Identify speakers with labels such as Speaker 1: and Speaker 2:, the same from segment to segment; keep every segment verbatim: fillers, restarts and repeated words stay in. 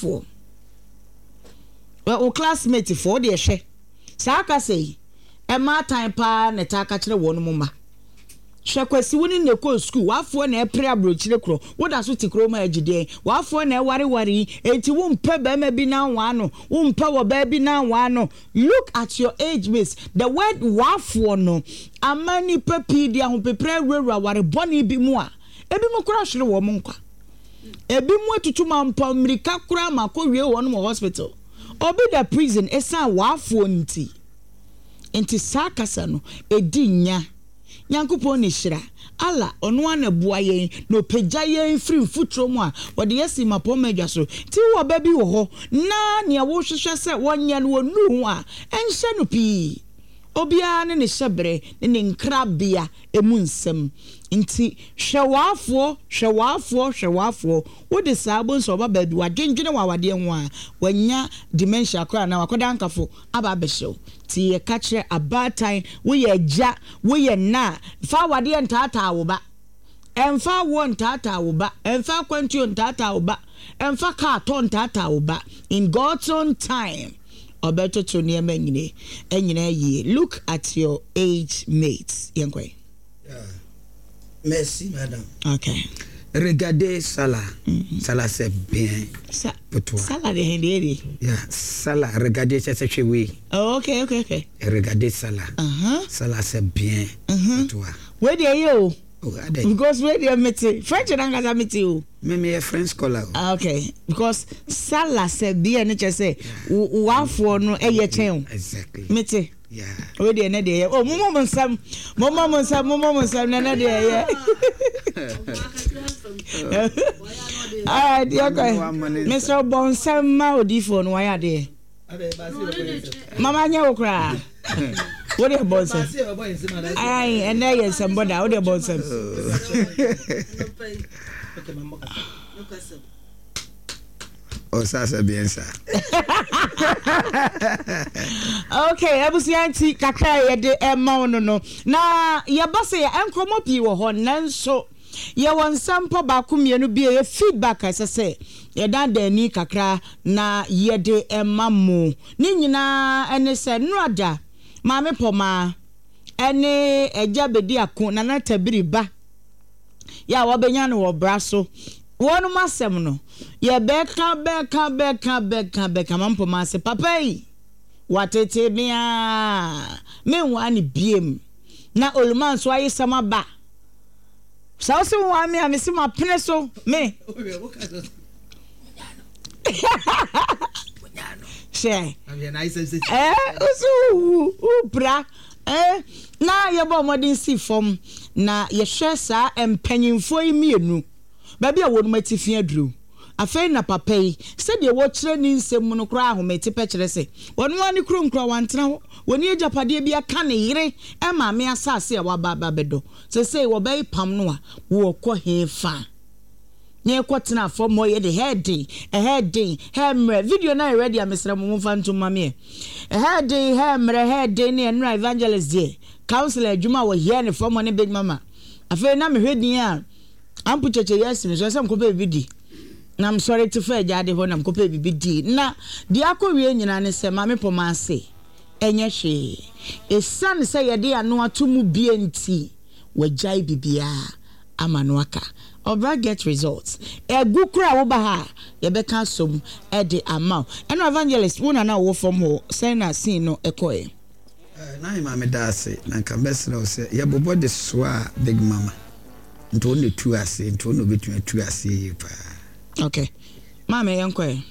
Speaker 1: W'afoɔ, wo classmate foɔ, wo deɛ hwɛ saa kasa yi, mmaatan paa na ɛtaa ka kyerɛ wɔn mma. Hwɛ Kwasi, wo ne no na ɛkɔɔ sukuu, w'afoɔ na ɛpere aburokyire korɔ, woda so te kurom a agye deɛn? W'afoɔ na ɛwareware yi, enti wompɛ barima bi na anwaa no, wompɛ ɔbaa bi na anwaa no. Look at your age mates, the word w'afoɔ no ama nnipa pii de ahopeprɛ awurawura aware bɔne bi mu a, ebinom koraa hwere wɔn nkwa. Ebinom atutu mampɔn mmirika koraa ma akɔwie wɔn wɔ hospital. Obi da prison esiane w'afoɔ nti. Nti saa kasa no, ɛdi nya. Nyankopɔn ne hyira. Allah, Ɔno ara na ɛboa yɛn na Ɔpagya yɛn firi mfuturo mu a Ɔde yɛn si mmapɔmma adwa so. Nti wowɔ ba bi wɔ hɔ na nea wohwehwɛ sɛ wɔnyɛ no wɔnnuu ho a, ɛnhyɛ no pii. Obiara ne ne hyɛberɛ ne ne nkrabea mu nsɛm. Nti hwɛ w'afoɔ, hwɛ w'afoɔ, hwɛ w'afoɔ. Wode saa bohu sɛ ɔba baabi, wadwendwene wɔ awadeɛ ho a, wanya dementia koraa anaa wakɔda ankafo aba abɛhyɛ wo. Nti yɛka kyerɛ abaatan, woyɛ agya, woyɛ nna a, mfa awadeɛ ntaataa wo ba. Mfa awoɔ ntaataa wo ba. Mfa akwantuo ntaataa wo ba. Mfa kaa tɔ ntaataa wo ba. In God's own time, ɔbɛtoto nneɛma nyina nyinaa yie. Look at your age mates. Yɛnkɔ ɛ.
Speaker 2: Yeah. Merci, madame.
Speaker 1: Okay.
Speaker 2: Regardez ça là. Mm -hmm. Ça là, c'est bien
Speaker 1: Sa
Speaker 2: pour toi.
Speaker 1: Ça là, de de.
Speaker 2: Yeah, ça là, regardez, ça c'est chez oui.
Speaker 1: Oh, ok, ok, ok.
Speaker 2: Regardez ça là.
Speaker 1: Uh -huh.
Speaker 2: Ça là, c'est bien
Speaker 1: uh -huh.
Speaker 2: pour toi.
Speaker 1: Wei deɛ yɛ o.
Speaker 2: Oh, adɛn?
Speaker 1: Because wei deɛ mete French nankasa mete o.
Speaker 2: Me meyɛ French scholar o.
Speaker 1: Ah, okay. Because sala sɛ beer no kyerɛ sɛ w'afoɔ no ɛyɛ kyɛn o.
Speaker 2: Exactly.
Speaker 1: Mete.
Speaker 2: Yeah.
Speaker 1: Wei deɛ ɛnɛ deɛ yɛ. Oh, mommɔ mo nsam. Mommɔ mo nsam, mommɔ mo nsam na ɛnɛ deɛ yɛ. Alright, yɛkɔ. Mesrɛ bɔ nsam ma odiifoɔ no wayɛ adeɛ. Mama nyɛ wo koraa. Wo deɛ bɔ nsɛm. Ayi ɛnɛ yɛ nsɛm bɔ da wo deɛ bɔ nsɛm.
Speaker 2: Ɔsa sɛ biɛnsa.
Speaker 1: Okay, abusua nti kakra a yɛde ɛma wo no no na yɛba sɛ yɛ nkɔmmɔ pii wɔ hɔ nanso yɛwɔ nsɛmpɔ baako mmienu bi a ɛyɛ feedback a ɛsɛ sɛ yɛdandan ani kakra na yɛde ma mo. Ne nyinaa ne sɛ Nnora Maame Pɔmaa ne Agya Bediako, Nana Tabiri ba yɛ a wɔabɛnya no wɔ bra so. Wɔnom asɛm no, yɛbɛka bɛka bɛka bɛka bɛka. Maame Pɔmaa se, Papa yi, watete me aa, menwaa no biem. Na Oluman nso ayesɛm aba. Sɛ wo se wo waa me a, mese mapene so me. Hwɛ. Eh, wo se wowu, wopira. Eh, na yɛbɔ mmɔden si fam na yɛhwɛ saa mpanyimfoɔ yi mmienu, baabi a wɔnom atifi aduru. Afei na papa yi, sɛdeɛ wɔkyerɛ ne nsɛm mu no koraa ahomete pɛ kyerɛ sɛ ɔno ara ne kurom koraa wantena hɔ. Wɔnni agyapadeɛ biara ka ne yere maame asase a waba aba abɛdɔ. Seesei wɔbɛpam no a, wɔkɔ hefa? Na yɛkɔtena fam hɔ yɛde hɛɛ den, ɛhɛɛ den, hɛɛ mmerɛ. Video no ayɛ ready a mesrɛ mo momfa ntom ma me ɛ. Ɛhɛɛ den, hɛɛ mmerɛ, hɛɛ den ne ɛnora evangelist deɛ, counselor adwuma a wɔyɛɛ no fam hɔ ne Big Mama. Afei na mehwɛ din a Ampu Kyekye yɛ asi me so, ɛsɛ mekɔpɛ biribi di. Na mesɔre te faa gyaade hɔ na mekɔpɛɛ biribi dii. Na deɛ akɔwie nyinaa ne sɛ Maame Pɔmaa se ɛnyɛ hwee. Ɛsiane sɛ yɛde ano ato mu bie nti, wagyae biribiara ama no aka. Ɔbra get results. Ɛgu koraa a woba ha a, yɛbɛka asom de ama wo. Ɛno Evangelist, wo na na wowɔ fam hɔ, sɛn na scene no kɔeɛ?
Speaker 2: Nahima meda ase na nka mɛsrɛ wo sɛ yɛbobɔ de soa Big Mama nti ɔno na ɛtu aseɛ nti ɔno na ɔbɛtumi atu aseɛ yie paa.
Speaker 1: Ok maame yɛnkɔ ɛ.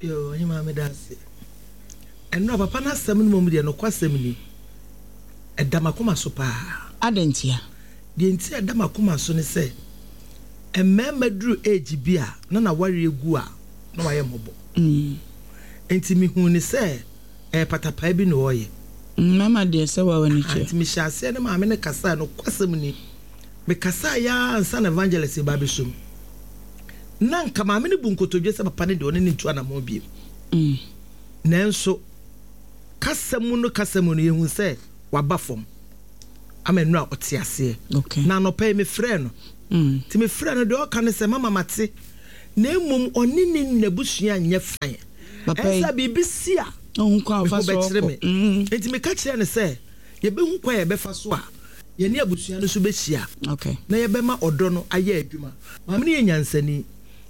Speaker 3: Yoo ɔhemaa meda ase. Ɛnora papa no asɛm no mmom deɛ nokwasɛm ni ɛda makoma so paa.
Speaker 1: Adɛn ntia?
Speaker 3: Deɛ nti a ɛda makoma so ne sɛ mmarima duru age bi a na nawareɛ gu a na wayɛ mmɔbɔ. Nti mehuu no sɛ ɛyɛ patapaa bi na ɔreyɛ.
Speaker 1: Mmarima deɛ sɛ wa w'ani
Speaker 3: Aha
Speaker 1: kyerɛ.
Speaker 3: nti mehyɛɛ aseɛ ne maame no kasae nokwasɛm ni mekasaeɛ ara ansa na evangelist reba abɛsɔ mu. Na anka maame no bu nkotodwe sɛ papa no deɛ ɔne no ntu anammɔn bio. Nanso kasa mu no kasa mu no yɛhu sɛ waba fam ama nnura ɔte aseɛ.
Speaker 1: Okay.
Speaker 3: Na anɔpa yi mefrɛɛ no. Nti mefrɛɛ no deɛ ɔka ne sɛ mama mate. Na mmom ɔne ne n'abusua nyɛ fine. Ɛsɛ biribi si a
Speaker 1: ɔhu kwan a ɔfa so
Speaker 3: bɛkyerɛ
Speaker 1: ɔkɔ.
Speaker 3: Me nti meka kyerɛ no sɛ yɛbɛhu kwan a yɛbɛfa so a yɛne abusua no so bɛhyia
Speaker 1: Okay.
Speaker 3: na yɛbɛma ɔdɔ no ayɛ adwuma. Maame no yɛ nyansani,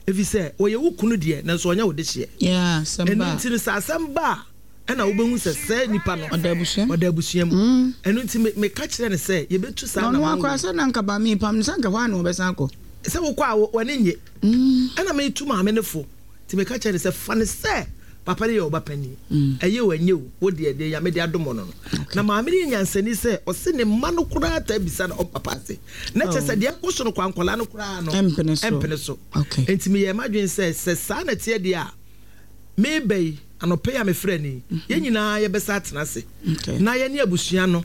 Speaker 3: ɛfiri sɛ ɔyɛ wo kunu deɛ, nanso ɔnyɛ wo de hyeɛ.
Speaker 1: Yeah, asɛm
Speaker 3: ɛno
Speaker 1: ba a.
Speaker 3: Nti no sɛ asɛm ba a, ɛna wobɛhu sɛ sɛ nipa no
Speaker 1: Ɔda abusua mu.
Speaker 3: Ɔda abusua mu. Ɛno nti me- meka kyerɛ no sɛ yɛbɛtu saa
Speaker 1: Na ɔno
Speaker 3: anammɔn
Speaker 1: akora
Speaker 3: wei.
Speaker 1: sɛ na nka ba mi pam no sɛ nka hɔ a na wɔbɛsan akɔ.
Speaker 3: Sɛ wokɔ a wo- w'ani nye. Ɛna metu maame no fo, nti meka kyerɛ no sɛ fa no sɛ papa no yɛ ɔba panin, ɛyɛ o ɛnyɛ o, wo deɛ deɛ Nyame de adom no no Na maame no yɛ nyansani sɛ ɔse ne mma no koraa taa bisa no ɔpapa ase na kyerɛ sɛ deɛ ɛkɔ so no kɔ ankɔlaa no koraa no
Speaker 1: Ɛmpene so.
Speaker 3: Ɛmpene so.
Speaker 1: Okay.
Speaker 3: Nti meyɛ m'adwene sɛ sɛ saa na teɛ deɛ a, meba yi anɔpɛ yi a mefrɛ ni, yɛn nyinaa yɛbɛsa atena ase
Speaker 1: Okay.
Speaker 3: na yɛne abusua no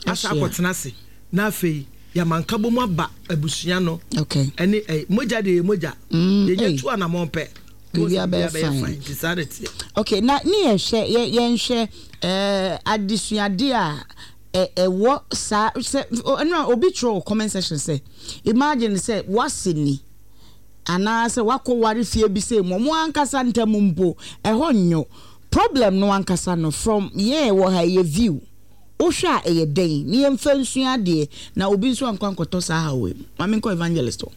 Speaker 3: asa
Speaker 1: Ahyia.
Speaker 3: akɔtena ase, na afei yɛama nkabom aba abusua no
Speaker 1: Okay.
Speaker 3: ɛne ɛ mogya deɛ yɛ mogya.
Speaker 1: Mm,
Speaker 3: Yɛnyɛ
Speaker 1: ei.
Speaker 3: tu anammɔn pɛ.
Speaker 1: Biribiara bɛyɛ fine.
Speaker 3: Nti saa na teɛ.
Speaker 1: Okay, na ne yɛhwɛ yɛ yɛnhwɛ ɛɛ adesuade a ɛ ɛwɔ saa sɛ ɛnna obi twerɛ wɔ comment section sɛ imagine sɛ wase ni anaasɛ wakɔ ware fie bi sɛ mu ɔmo ankasa ntam mpo ɛhɔ nyo problem no ankasa no. From yɛn wɔ ha yɛ view, wohwɛ a ɛyɛ dɛn ne yɛmfa nsua adeɛ na obi nso ankɔ ankɔtɔ saa ha wɔ mu? Maame, nkɔ evangelist hɔ.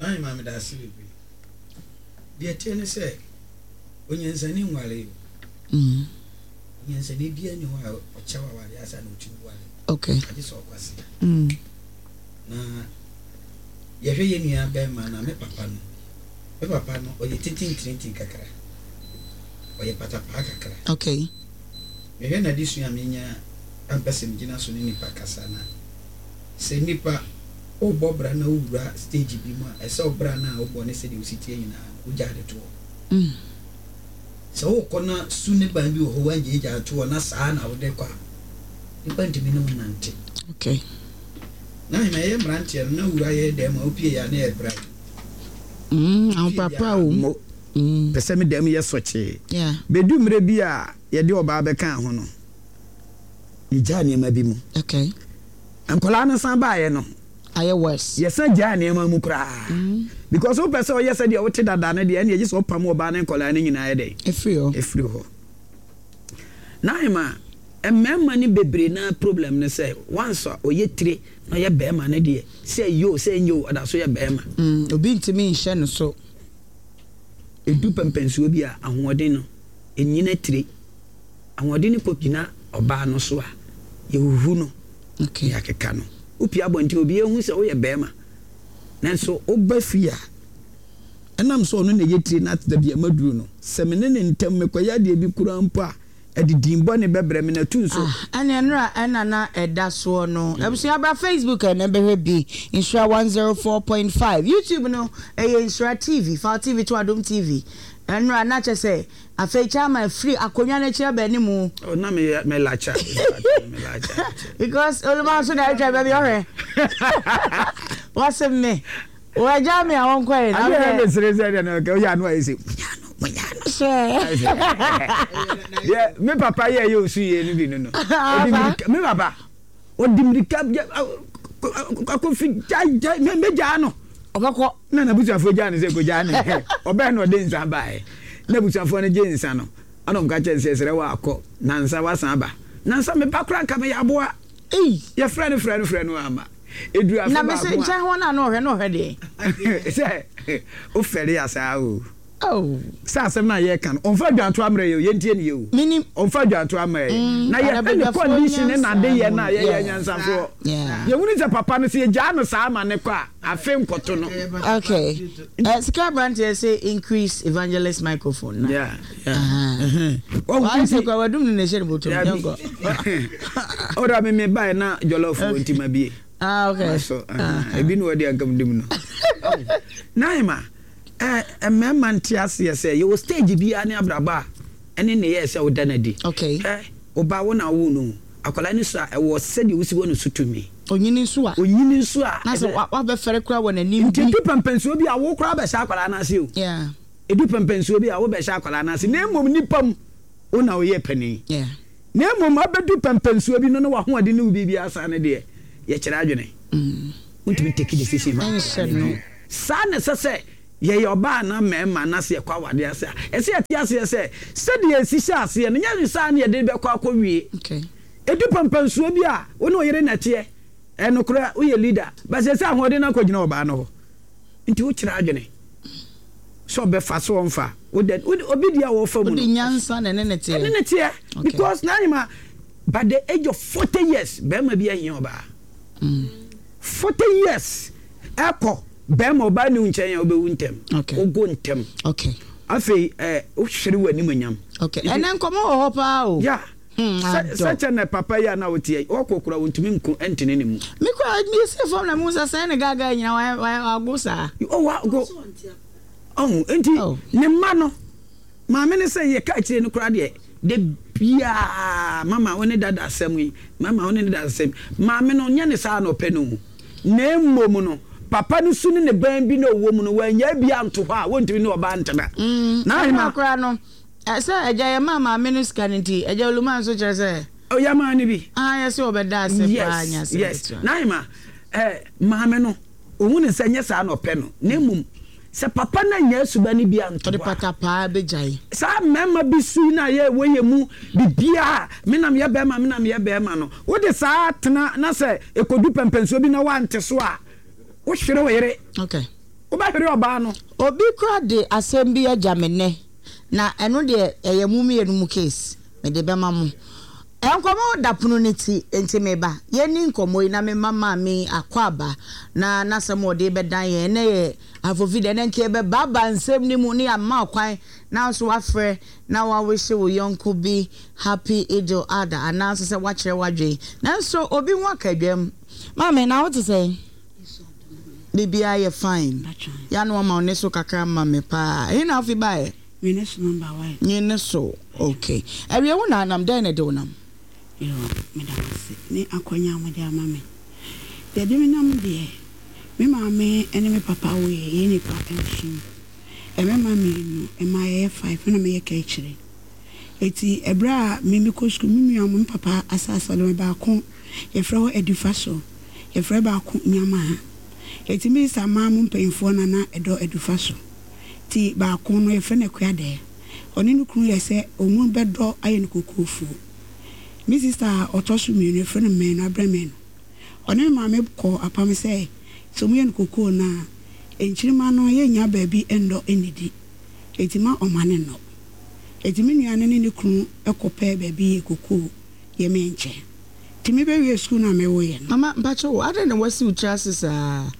Speaker 2: Maame, maame, da ase bebree. Deɛ teɛ ne sɛ onyansani nware o.
Speaker 1: Mm.
Speaker 2: Onyansani biara ni hɔ a ɔkyɛw aware asa na ɔtumi ware.
Speaker 1: Okay
Speaker 2: agye sɛ ɔkwase.
Speaker 1: mm.
Speaker 2: Na yɛhwɛ yɛn nua bɛrima na me papa no, me papa no ɔyɛ tintintirintin kakra, ɔyɛ patapaa kakra.
Speaker 1: Okay
Speaker 2: mehwɛ n'adesua a menya ampɛ sɛ megyina so ne nipa kasa, na sɛ nipa wobɔ bra na wowura stage bi mu a, ɛsɛ wo bra no a wobɔ ne sɛdeɛ wosi tie nyinaa no wogyaa de toɔ.
Speaker 1: mm.
Speaker 2: Sɛ wokɔ na su ne ban bi wɔ hɔ woangyaagyaa toɔ na saa na wode kɔ a, nipa ntumi ne wo nante.
Speaker 1: Okay
Speaker 2: na ahema yɛyɛ mmeranteɛ no na wura yɛ dɛm a wopie yɛ a na yɛ bra.
Speaker 1: mm. Ahoprapra wɔ mu.
Speaker 2: Mo
Speaker 1: mm.
Speaker 2: pɛ sɛ me dɛm yɛ sɔkyee.
Speaker 1: Yeah
Speaker 2: bɛdu mmerɛ bi a yɛde ɔbaa bɛkaa ho no, yɛgyaa nneɛma bi mu.
Speaker 1: Okay
Speaker 2: nkɔlaa no san baeɛ no,
Speaker 1: ayɛ worse.
Speaker 2: Yɛsan gyaa nneɛma mu koraa because wopɛ sɛ ɔyɛ sɛdeɛ wote dada no deɛ, ɛne ɛgye sɛ wopam ɔbaa ne nkɔlaa no nyinaa yɛ dɛn?
Speaker 1: Ɛfiri hɔ.
Speaker 2: Ɛfiri hɔ. Na ahema mmarima no bebree na problem no sɛ once a ɔyɛ tire na ɔyɛ bɛrima no deɛ, sɛ ɛyɛ o sɛ ɛnyɛ o, ɔda so yɛ bɛrima.
Speaker 1: Mm, obi ntumi nhyɛ no so.
Speaker 2: Ɛdu pɛmpɛnsoɔ bi a, ahoɔden no ɛnyina tire, ahoɔden no kɔgyina ɔbaa no so a yɛhuhu no.
Speaker 1: Okay
Speaker 2: yɛakeka no, wopie abɔnten, obi ehu sɛ woyɛ bɛrima, nanso woba fie a, ɛnam sɛ ɔno na ɛyɛ tire na da bi ama duru no sɛ me ne ne ntam mekɔyɛ adeɛ bi koraa mpo a, ɛde din bɔne bɛbrɛ me na tu nso.
Speaker 1: Ah, ɛne nnora ɛna na ɛda soɔ no. Abusua, bra Facebook ɛna bɛhwɛ bi, Nhyira one oh four point five. YouTube no ɛyɛ Nhyira T V, fa T V to Adom T V. Ɛnora na kyɛ sɛ afei chairman firi akonnwa no akyi aba anim.
Speaker 2: Oh, na meyɛ melakya melakya.
Speaker 1: Because oluma nso na atwa baabi ɔhwɛ wɔse me wɔagya me a wɔnkɔɛ na
Speaker 2: adeɛ
Speaker 1: wohwɛ-
Speaker 2: mesere sɛ deɛ no ɔyɛ ano ayɛ sɛ munya no munya no.
Speaker 1: Hwɛ.
Speaker 2: Deɛ me papa yɛ yɛ osu yie no bi no no ɔde mirika, me papa ɔde mirika akɔfi gya gya mɛgyaa no.
Speaker 1: Ɔbɛkɔ.
Speaker 2: Na n'abusuafoɔ gyaa no sɛ kɔgyaa ne ɔbɛn na ɔde nsa baeɛ na abusuafoɔ no gye nsa no, ɛna ɔmka kyerɛ no sɛ srɛ wɔ akɔ nansa wasan aba nansa meba koraa nka meyɛ aboa.
Speaker 1: Ei.
Speaker 2: Yɛfrɛ no frɛ no frɛ no ama ɛduru afe
Speaker 1: Na mese
Speaker 2: baako
Speaker 1: nkyɛn hɔ no a na ɔhwɛ na ɔhwɛ deɛ.
Speaker 2: A sɛ wofɛre asaa o.
Speaker 1: Oh.
Speaker 2: Sɛ asɛm no a yɛka no, ɔmfa adwanto ammerɛ yɛ o, yɛntie ne yɛ o.
Speaker 1: Menim.
Speaker 2: Ɔmfa adwanto ammerɛ yɛ
Speaker 1: Mm,
Speaker 2: na yɛhwɛ ne
Speaker 1: adabadwafoɔ
Speaker 2: condition ne
Speaker 1: nyansa
Speaker 2: nade yɛ no a
Speaker 1: mu.
Speaker 2: yɛyɛ
Speaker 1: Yeah.
Speaker 2: nyansafoɔ.
Speaker 1: Yeah.
Speaker 2: Yɛhunu sɛ papa no sɛ yɛgyaa no saa ma ne kɔ a, afe nkɔto no.
Speaker 1: Okay. Uh, sika aberanteɛ sɛ increase evangelist microphone na.
Speaker 2: Yeah, yeah.
Speaker 1: Ah.
Speaker 2: Wahu
Speaker 1: Wayɛ sɛ
Speaker 2: nti-
Speaker 1: kura wadum no na ɛhyɛ ne bɔtɔm.
Speaker 2: Dabi.
Speaker 1: Yɛnkɔ.
Speaker 2: Ɔda me me bae na jollof wɔ nti ma bie.
Speaker 1: Ah, okay.
Speaker 2: So ebi ne wɔde ankam dim no naima ɛ mmarima nte aseɛ sɛ yɛwɔ stage biara ne abrabɔ a ɛne ne yɛ sɛ woda no adi.
Speaker 1: Okay.
Speaker 2: Ɛ ɔba wo na wo no akwadaa no so a, ɛwɔ sɛdeɛ wosi wɔ no so tumi.
Speaker 1: Onyini nso a.
Speaker 2: Onyini nso a.
Speaker 1: Na sɛ wa- wabɛfɛre kura wɔ n'anim
Speaker 2: nti
Speaker 1: bi.
Speaker 2: edu pɛmpɛnsuo bi a, wo koraa bɛhyɛ akwadaa no ase o.
Speaker 1: Yeah.
Speaker 2: Edu pɛmpɛnsuo bi a, wobɛhyɛ akwadaa no ase, na mmom nipa mu wo na woyɛ panin.
Speaker 1: Yeah.
Speaker 2: Na mmom abɛdu pɛmpɛnsuo bi no na wahoɔden ne wo biribi asa no deɛ, yɛkyerɛ adwene, wontumi take decision ma
Speaker 1: Ɛnhyɛ no.
Speaker 2: saa na ɛsɛ sɛ Yɛyɛ ɔbaa anaa mmarima na sɛ yɛkɔ awadeɛ ase a, ɛsɛ yɛte aseɛ sɛ, sɛdeɛ yɛsi hyɛ aseɛ no, nyɛ saa na yɛde bɛkɔ akɔwie. Ɛdu pampansuo bi a, wo ne wo yere na ɛteɛ. Ɛyɛ nokorɛ, woyɛ leader, but seesei ahoɔden no akɔgyina ɔbaa no hɔ. Nti wokyerɛ adwene sɛ ɔbɛfa sɛ ɔmfa. Wode, wode, obi deɛ a wɔfa mu no.
Speaker 1: Wode nyansa na ɛne ne teɛ.
Speaker 2: Ɛne ne teɛ. Because n'ahema, by the age of forty years, barima bi ahia ɔbaa. Forty years ɛkɔ bɛrima ɔbaa ni wo nkyɛn a wobɛwu ntɛm.
Speaker 1: Okay.
Speaker 2: Wogo ntɛm.
Speaker 1: Okay.
Speaker 2: Afei ɛ wohwere w'animuonyam.
Speaker 1: Okay. Ɛnɛ nkɔmɔ wɔ hɔ paa o.
Speaker 2: Yeah.
Speaker 1: Hmm,
Speaker 2: Sɛ
Speaker 1: adɔ.
Speaker 2: sɛ kyɛ na papa yi a na woteɛ yi ɔkɔ kora wontumi nko ntene ne mu.
Speaker 1: Me kora me si fam na me hu sɛ sɛn ne gaga nyina wa wa wago saa.
Speaker 2: Oh wago. Ɔho nti
Speaker 1: Oh.
Speaker 2: ne mma no Maame no sɛ yɛka akyire no koraa deɛ, da biara mama wo ne dada asɛm yi, mama wo ne ne dada asɛm. Maame no, nyɛ ne saa na ɔpɛ no o. Na mmom no, papa no su ne ne ban bi na ɔwɔ mu no, wannyae bi anto hɔ a, wɔntumi ne ɔbaa ntena.
Speaker 1: Mm,
Speaker 2: Na
Speaker 1: ɛno
Speaker 2: ahema.
Speaker 1: koraa no, sɛ agya yɛmaa maame no sika no nti, agya Oluman nso kyerɛ sɛ.
Speaker 2: Oh, yɛmaa no bi.
Speaker 1: Ah, yɛse ɔbɛda ase paa,
Speaker 2: Yes,
Speaker 1: nyɛ asɛm
Speaker 2: yes.
Speaker 1: ketewa.
Speaker 2: Na ahema, eh, maame no, ɔhu no sɛ nyɛ saa na ɔpɛ no, na mmom Sɛ papa no annya suban no bi anto
Speaker 1: Ɔde
Speaker 2: hɔ a.
Speaker 1: patapaa bɛgyae.
Speaker 2: Saa mmarima bi su yi no a yɛ wɔ yɛ mu biribiara me na meyɛ barima me na meyɛ barima no wode saa tena na sɛ ɛkɔdu pɛmpɛnsoɔ bi na woante so a wohwere wo yere.
Speaker 1: Okay.
Speaker 2: Wobɛhwere ɔbaa no.
Speaker 1: Obi kora de asɛm bi agya me nnɛ na ɛno deɛ ɛyɛ mo mmienu mo case mede bɛma mo. Nkɔmmɔ da pono no ti nti meba yɛnni nkɔmmɔ yi na memma maame yi akwaaba na n'asɛm a ɔde rebɛdan yɛn ɛnnɛ yɛ Afofi deɛ ɛnnɛ nka yɛbɛbaabaa nsɛm no mu na yɛama wo kwan na wo nso woafrɛ na woawihye wo yɔnko bi Happy Eid-el Adha anaa nso sɛ woakyerɛ w'adwene nanso obi ho aka dwam. Maame na wo te sɛn? Biribiara yɛ fine. Yɛ a na wama wo nne so kakra ma me paa. Ɛhe na wofi baeɛ?
Speaker 4: Nwene so number one.
Speaker 1: Nwene so, okay. Awie wo na anam, dɛn na ɛde wo nam?
Speaker 4: Yoo, meda mo ase ne akwanya a mode ama me. Deɛ ɛde me nam deɛ, me maame ne me papa woeɛ, yɛn nnipa nson. Mmarima mmienu, mmaa yɛyɛ five, me na meyɛ kaakyire. Enti ɛberɛ a me mekɔ sukuu, me nua me papa asase a ɔde ma me baako yɛfrɛ hɔ Adufaso, yɛfrɛ baako Nyamaha. Enti me sista mmaa mo mpanyinfoɔ na na ɛdɔ Adufaso. Nti baako no yɛfrɛ no Akuadɛɛ. Ɔne ne kunu yɛ sɛ wɔn bɛdɔ ayɛ no kokofuo. Me sista a ɔtɔ so mmienu yɛfrɛ no Manu, Abrɛ Manu. Ɔne me maame kɔɔ apam sɛ, sɛ wɔyɛ no kokoo no a, nkyirimma no yɛnnya baabi nnɔ nnidi. Enti ma ɔma no nnɔ. Enti me nua no ne ne kunu kɔpɛɛ baabi yɛɛ kokoo yɛ me nkyɛn. Nti mebɛwiee sukuu no a mewoeɛ no.
Speaker 1: Mama, mpakyɛ wo, adɛn na woasi wo tiri ase saa?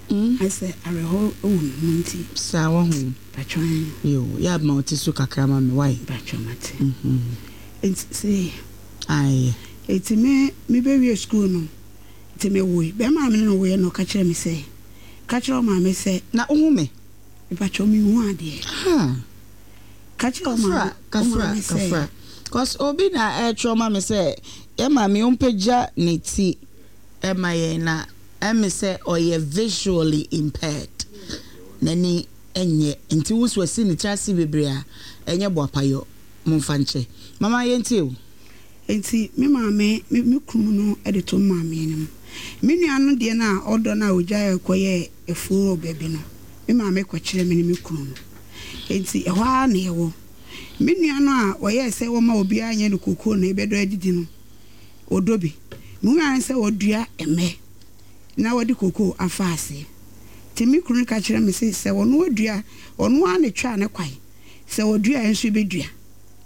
Speaker 1: Mm.
Speaker 4: Ayɛ sɛ awerɛhow wɔ me mu nti.
Speaker 1: Saa wahu.
Speaker 4: Mpakyɛw ɛn.
Speaker 1: Yoo, yɛ a ma wo ti so kakra ma me wai.
Speaker 4: Mpakyɛw mate.
Speaker 1: Mhm.
Speaker 4: Nti sei.
Speaker 1: Ae.
Speaker 4: Nti me me bɛ wie sukuu no, nti me woe. Bɛɛma a me ne no woeɛ no ɔka kyerɛɛ me sɛ, ka kyerɛ wo maame sɛ.
Speaker 1: Na wo hu me?
Speaker 4: Mepakyɛw me nhu adeɛ.
Speaker 1: Ahaa.
Speaker 4: Ka kyerɛ wo maame,
Speaker 1: Kafra,
Speaker 4: wo
Speaker 1: kafra,
Speaker 4: maame sɛ.
Speaker 1: kafra. Cos obi na ɛɛtwerɛ ma me sɛ yɛ maame ɔmpagya ne ti ma yɛn na ɛme sɛ ɔyɛ visually impaired, n'ani nyɛ nti wo nso wasi ne tiri ase bebree a ɛnyɛ boapayɔ, momfa nkyɛ. Mama yɛntie o.
Speaker 4: Enti me maame, me me kunu no de too me maame anim. Me nua no deɛ no a ɔdɔ no a ɔgyaeɛ kɔyɛɛ afuo wɔ baabi no, me maame kɔkyerɛɛ me ne me kunu no. Enti ɛhɔ ara na yɛwɔ. Me nua no a ɔyɛɛ sɛ wɔmma obiara nyɛ no kokoo na yɛbɛdɔ adidi no, ɔdɔ bi. Mehui ara ne sɛ ɔdua mmɛ na wɔde kokoo afa aseɛ. Nti me kunu no ka kyerɛɛ me se sɛ ɔno adua, ɔno ara na ɛtwaa ne kwan, sɛ ɔdua a yɛn nso yɛbɛdua.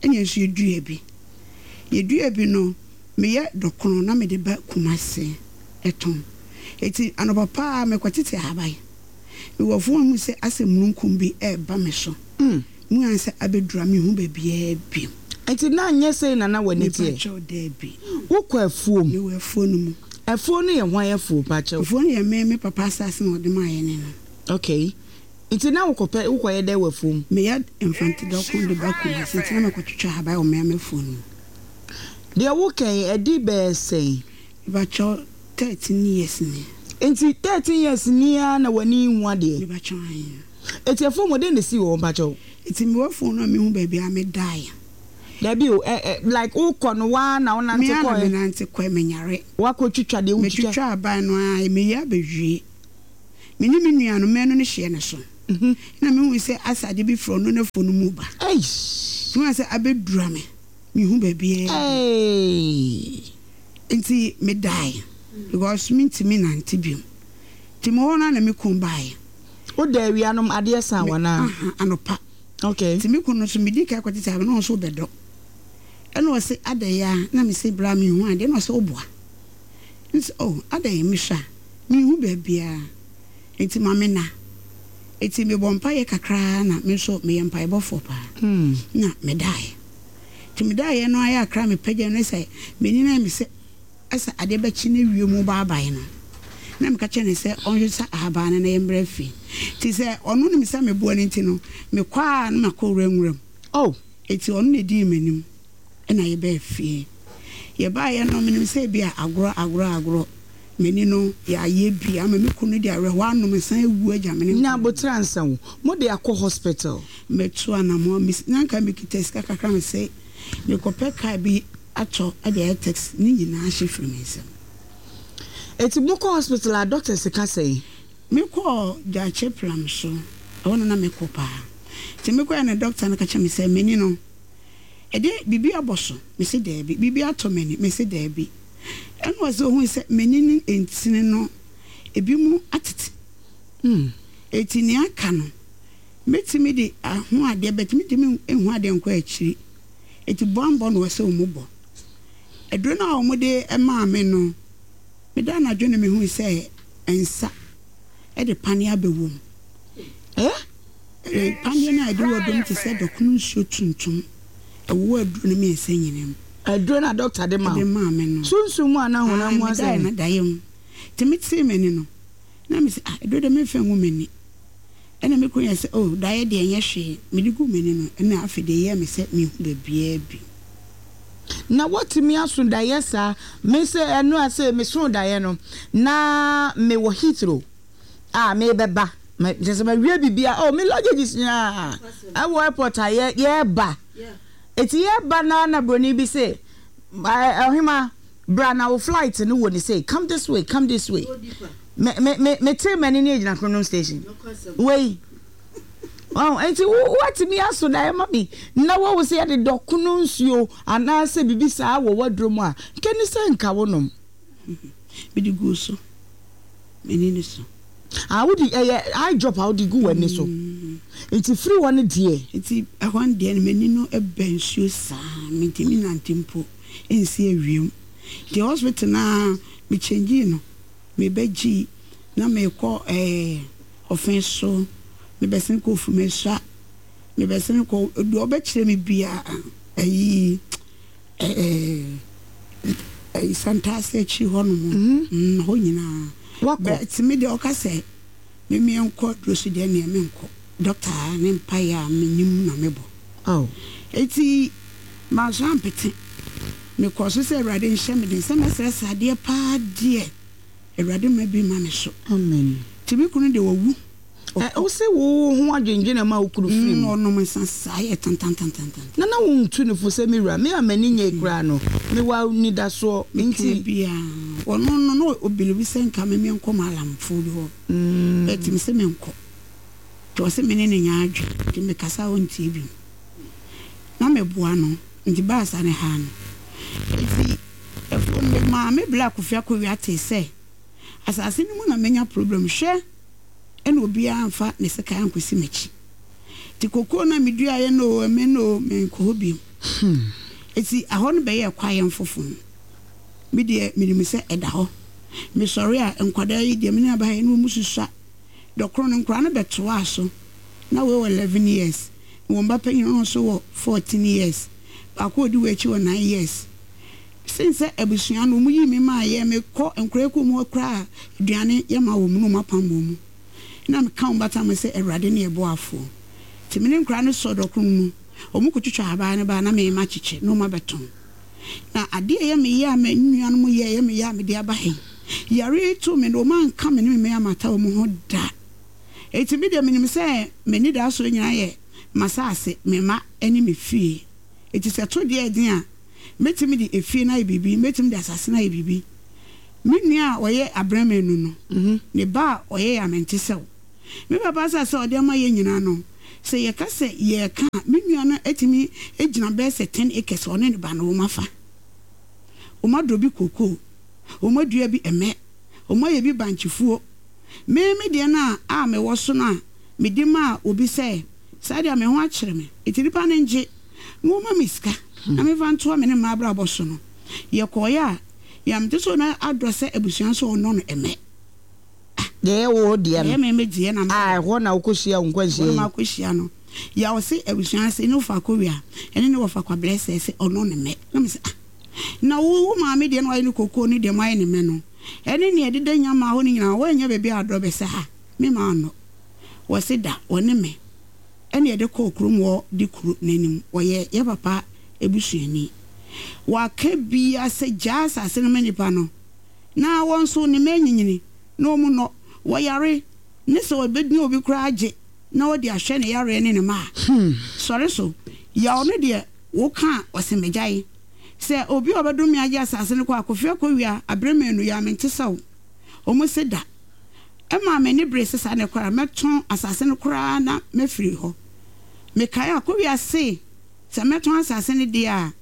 Speaker 4: Ɛnna yɛn nso yɛduaa bi. Yɛduaa bi no, meyɛ dɔkono na mede ba Kumasi tɔn. Enti anɔpa pa ara mekɔtete ahaban. Mewɔ afuom a mehu sɛ asɛ mununkum bi reba me so. Mehu ara sɛ abɛduru a menhu baabiara bio.
Speaker 1: Enti na nyɛ sei na na w'ani teɛ?
Speaker 4: Mepakyɛw, dabi.
Speaker 1: Wokɔ afuom?
Speaker 4: Mewɔ afuo no mu.
Speaker 1: Afuo no yɛ hwan afuo, pakyɛw?
Speaker 4: Afuo no yɛ me me papa asase na ɔde maa yɛne no.
Speaker 1: Okay. Nti na wokɔpɛ, wokɔyɛ dɛn wɔ afuom?
Speaker 4: Meyɛ mfante dɔko de ba Kumasi nti na mekɔtwitwa ahaban wɔ me ara m'afuo no mu.
Speaker 1: Deɛ woka yi, ɛdi bɛyɛ sɛn?
Speaker 4: Mepakyɛw, thirteen years ni.
Speaker 1: Nti thirteen years ni ara na w'ani nhu adeɛ?
Speaker 4: Mepakyɛw, aane.
Speaker 1: Nti afuom hɔ, dɛn na esii wɔ hɔ, mpakyɛw?
Speaker 4: Nti mewɔ afuom no a menhu baabi a medaeɛ.
Speaker 1: Dabi o, ɛ ɛ like wokɔ no woaa na wonante
Speaker 4: Me ara na
Speaker 1: kɔɛ?
Speaker 4: menante kɔɛ, menyare.
Speaker 1: Woakɔtwitwa deɛ wotwitwa?
Speaker 4: Metwitwa aban no ara, meyɛ abɛwie. Me ne me nuanom mmienu no hyeɛ ne so. Na mehu sɛ asa ade bi frɛ ɔno n'afuo no mu ba.
Speaker 1: Eish.
Speaker 4: Nti mehu sɛ abɛdura me. Mehu baabiara.
Speaker 1: Hey.
Speaker 4: Nti medae because mentumi nante biom. Nti mewɔ hɔ no na me kun baeɛ.
Speaker 1: Woda awia nom adeɛ sa
Speaker 4: Me-
Speaker 1: wanaa?
Speaker 4: aha, anɔpa.
Speaker 1: Okay.
Speaker 4: Nti me kun no so medi ka kɔtete aba na ɔno nso bɛdɔ. Ɛna ɔse adɛn a na mese bra mehu adeɛ na ɔse woboa. Nti oh adɛn mehwɛ a mehu baabiara. Nti ma me na. Nti mebɔ mpaeɛ kakraa na me nso meyɛ mpaebɔfoɔ paa.
Speaker 1: Mm.
Speaker 4: Na medaeɛ. Nti medaeɛ no ayɛ akra mepagya no sɛ m'ani no ayɛ me sɛ ɛsɛ adeɛ bɛkye no awie mu baabae no. Na meka kyerɛ no sɛ ɔnhwɛ sɛ ahaban no na yɛmbrɛ fie. Nti sɛ ɔno nim sɛ meboa no nti no mekɔ a na makɔ wura nwura mu.
Speaker 1: Oh.
Speaker 4: Nti ɔno na ɛdii m'anim ɛna yɛbɛɛ fie. Yɛbaeɛ no menim sɛ bi a agorɔ agorɔ agorɔ m'ani no yɛayɛ bi ama me kunu de awerɛhoɔ anom nsan awu agya me ne
Speaker 1: Nya abotrɛ ansa wo. Mo de akɔ hospital.
Speaker 4: Mɛtu anammɔn mes na nka mekita sika kakra me sɛ mekɔpɛ kaa bi atɔ de ayɛ taxi ne nyinaa hye firi me nsam.
Speaker 1: Eti mokɔ hospital a doctors ka sɛn?
Speaker 4: Mekɔɔ Gyaakye Plam so ɛhɔ no na mekɔ paa. Nti mekɔɛ no doctor no ka kyerɛ me sɛ m'ani no ɛdeɛ biribi abɔ so mese daabi, biribi atɔ m'ani mese daabi. Ɛna ɔsɛ ohun sɛ m'ani ne ntini no ebi mu atete.
Speaker 1: Mm.
Speaker 4: Eti nea aka no mɛtumi de aho adeɛ but mentumi nhu adeɛ nkɔ akyiri. Eti bɔmbɔ na ɔsɛ ɔmo bɔ. Aduro no a ɔmo de maa me no meda anadwo no mehu sɛ nsa ɛde paneɛ abɛwɔ mu.
Speaker 1: Eh?
Speaker 4: Eh, paneɛ no a ɛde wɔ dom te sɛ dɔkono nsuo tuntum ɛwɔ aduro no mmiɛnsa nyinaa mu.
Speaker 1: Aduro na doctor de ma
Speaker 4: Ɛde
Speaker 1: wo.
Speaker 4: maa me no.
Speaker 1: Sunsum mu anaa honam mu
Speaker 4: Ah, medaeɛ
Speaker 1: asɛm?
Speaker 4: no daeɛ mu. Nti metee m'ani no na mese ah aduro de memfa ngu m'ani. Ɛna me kunu yɛ sɛ oh daeɛ deɛ ɛnyɛ hwee mede gu m'ani no ɛna afei deɛ ɛyɛɛ me sɛ mehu baabiara bi.
Speaker 1: Na wɔtumi aso daeɛ saa me sɛ ɛno a sɛ meso daeɛ no na mewɔ Heathrow a mebɛba me kyerɛ sɛ mawie biribiara oh me luggages nyinaa ɛwɔ airport a yɛ yɛreba eti yɛreba na na broni bi sɛ ɔhema bra na wo flight no wɔ ne sɛ come this way, come this way. Me me me me te m'ani ne egyina Kronom station wei ɔn nti wo watumi aso daeɛ ma mi na wɔwɔ sɛ yɛde dɔkono nsuo anaasɛ biribi saa wɔ waduro mu a nkɛni sɛ nka wo nom.
Speaker 4: Mede gu so m'ani no so.
Speaker 1: Ah, wodi ɛyɛ eye drop a wode gu w'ani so nti firi hɔ no deɛ.
Speaker 4: Nti ɛhɔ no deɛ no m'ani no bɛ nsuo saa mentumi nante mpo nsi awiem. Nti hospital naa mekyɛngyii no mebɛgyii na mekɔ ɛɛ ɔfɛn so mebɛsene kɔ Ofumesua mebɛsene kɔ deɛ ɔbɛkyerɛ me bia ɛyi ɛɛ ɛyi Santase akyi hɔ nom mm hɔ nyinaa.
Speaker 1: Wakɔ.
Speaker 4: But me deɛ ɔka sɛ me nkɔ duro so deɛ neɛ menkɔ doctor ne mpaeɛ a menim na mebɔ.
Speaker 1: Oh.
Speaker 4: Eti manso ampete mekɔ so sɛ Awurade nhyɛ me den sɛ mɛsrɛsrɛ adeɛ paa deɛ Awurade ma bi ma me so.
Speaker 1: Amen.
Speaker 4: Nti me kunu deɛ wawu.
Speaker 1: Ɛ wo sɛ wo ho adwendwene ma wo kunu firi mu.
Speaker 4: Ɔnom nsa saa yɛ tantantantantan.
Speaker 1: Na na wontu ne fo sɛ me wura me a m'ani nyɛ koraa no mewɔ anidasoɔ
Speaker 4: nti
Speaker 1: nti.
Speaker 4: biaa ɔno no na ɔbelieve sɛ nka me menkɔ maalamfoɔ bi hɔ.
Speaker 1: Mm.
Speaker 4: But me sɛ menkɔ. Nti ɔsɛ me ne ne nya adwe nti mekasa a ɔntie bi. Na meboa no nti baasa ne ha no. Nti ɛfuo no maame Black Kofi Akowia tee sɛ asase no mu na menya problem hwɛ ɛna obiara mfa ne sekan ankɔsi m'akyi. Nti kokoo na meduaeɛ no o ɛmɛ no o menkɔ hɔ bio. Nti ahɔ no bɛyɛɛ kwaeɛ mfofo. Me deɛ menim sɛ ɛda hɔ. Mesɔre a nkwadaa yi deɛ me ne aba yi ne wɔn susua. Dɔkono no nkwadaa no bɛtoaa so. Na wei wɔ eleven years. Wɔn ba panyin no nso wɔ fourteen years. Baako a odi wɔ akyi wɔ nine years. Sen sɛ abusua no wɔn yi mi maa yɛ mekɔ nkwadaa kuo mu hɔ koraa aduane yɛ ma wɔn mu na wɔn apam wɔn mu. Na meka wɔn bata mo sɛ Awurade ne yɛ boafoɔ. Nti me ne nkwadaa no sɔ dɔkono mu. Wɔn kɔtwitwa ahaban no ba na mema kyekyɛ na wɔn abɛtɔn. Na adeɛ a ɛyɛ me yɛ a me nuanom yɛ ɛyɛ me yɛ a mede aba ha yi. Yare yi too me no wɔn anka me ne me mma amata wɔn ho da. Eti me deɛ menim sɛ m'ani da so nyinaa yɛ m'asase, me mma ne me fie. Eti sɛ to deɛ ɛden a mɛtumi de efie no ayɛ biribi, mɛtumi de asase no ayɛ biribi. Me nua a ɔyɛ abrɛmanu no, ne ba a ɔyɛ yɛ amente sɛw. Me papa asase a ɔde ama yɛn nyinaa no, sɛ yɛka sɛ yɛreka a, me nua no atumi agyina bɛyɛ sɛ ten acres a ɔne ne ba no wɔafa. Wɔadɔ bi kokoo, wɔadua bi mmɛ, wɔayɛ bi bankyefuo. Me me deɛ no a a mewɔ so no a mede maa obi sɛ saa deɛ a me ho akyere me nti nipa no ngye na wɔma me sika na memfa ntoa me ne m'abrabɔ so no, yɛkɔeɛ a, yɛante sɛ ɔno adɔ sɛ abusua nso ɔnnɔ no mmɛ.
Speaker 1: Deɛ ɛyɛ wo deɛ no.
Speaker 4: Ɛyɛ me me deɛ na
Speaker 1: A ɛhɔ na wokɔhyia wo nkwanhyia
Speaker 4: yi.
Speaker 1: Ɛhɔ
Speaker 4: na makɔhyia no. Yaw se abusua ase ne wofa akɔwia ɛne ne wɔfa kwabrɛ sɛ sɛ ɔno ne mɛ. Na me sɛ ah na wo wo maame deɛ na wayɛ ne kokoo ne deɛ moayɛ ne mɛ no ɛne neɛ ɛdeda nyamaa hɔ no nyinaa woannya baabi a adɔ bɛsɛ ha me maa nnɔ. Wɔse da wɔne me ɛne yɛde kɔɔ kurom hɔ de kuro no anim wɔyɛ yɛ papa abusuani. Waka bia sɛ gyaa asase no ma nipa no na wɔn nso ne mma anyinyini na wɔn nnɔ, wɔyare ne sɛ ɔbɛdina obi koraa agye na ɔde ahwɛ ne yareɛ ne ne mma a, sɔre so. Yaw no deɛ woka a ɔse megyae. Sɛ obi a ɔbɛdom me agye asase no kɔ a, Kofi Akowia, aberɛ mmienu yi a mente sɛ wo. Wɔn se da. Ɛmaa m'ani beree sɛ saa na ɛkɔ a mɛtɔn asase no koraa na mafiri hɔ. Mekae a Akowia se Sɛ mɛtɔn asase no deɛ a,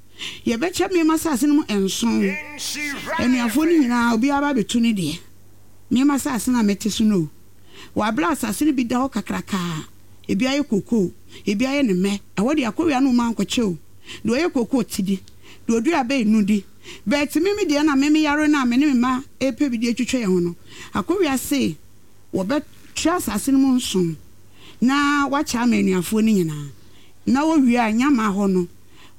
Speaker 4: yɛbɛkyɛ me m'asase no mu nson. Anuafoɔ no nyinaa, obiara ba abɛtu ne deɛ. Me m'asase no a mete so no o, wɔ aberɛ a asase no bi da hɔ kakraka a, ebi ayɛ kokoo, ebi ayɛ ne mmɛ. Ɛhɔ deɛ, akɔwia no mma nkɔkyɛ o. Deɛ ɔyɛ kokoo te di, deɛ ɔdua abɛ nnɔ di. But me me deɛ na me meyare no a me ne me mma repɛ bi de atwitwa yɛn ho no, akɔwia se wɔbɛkyɛ asase no mu nson na wɔakyɛ ama anuafoɔ no nyinaa. Na wɔwie a, nyama hɔ no,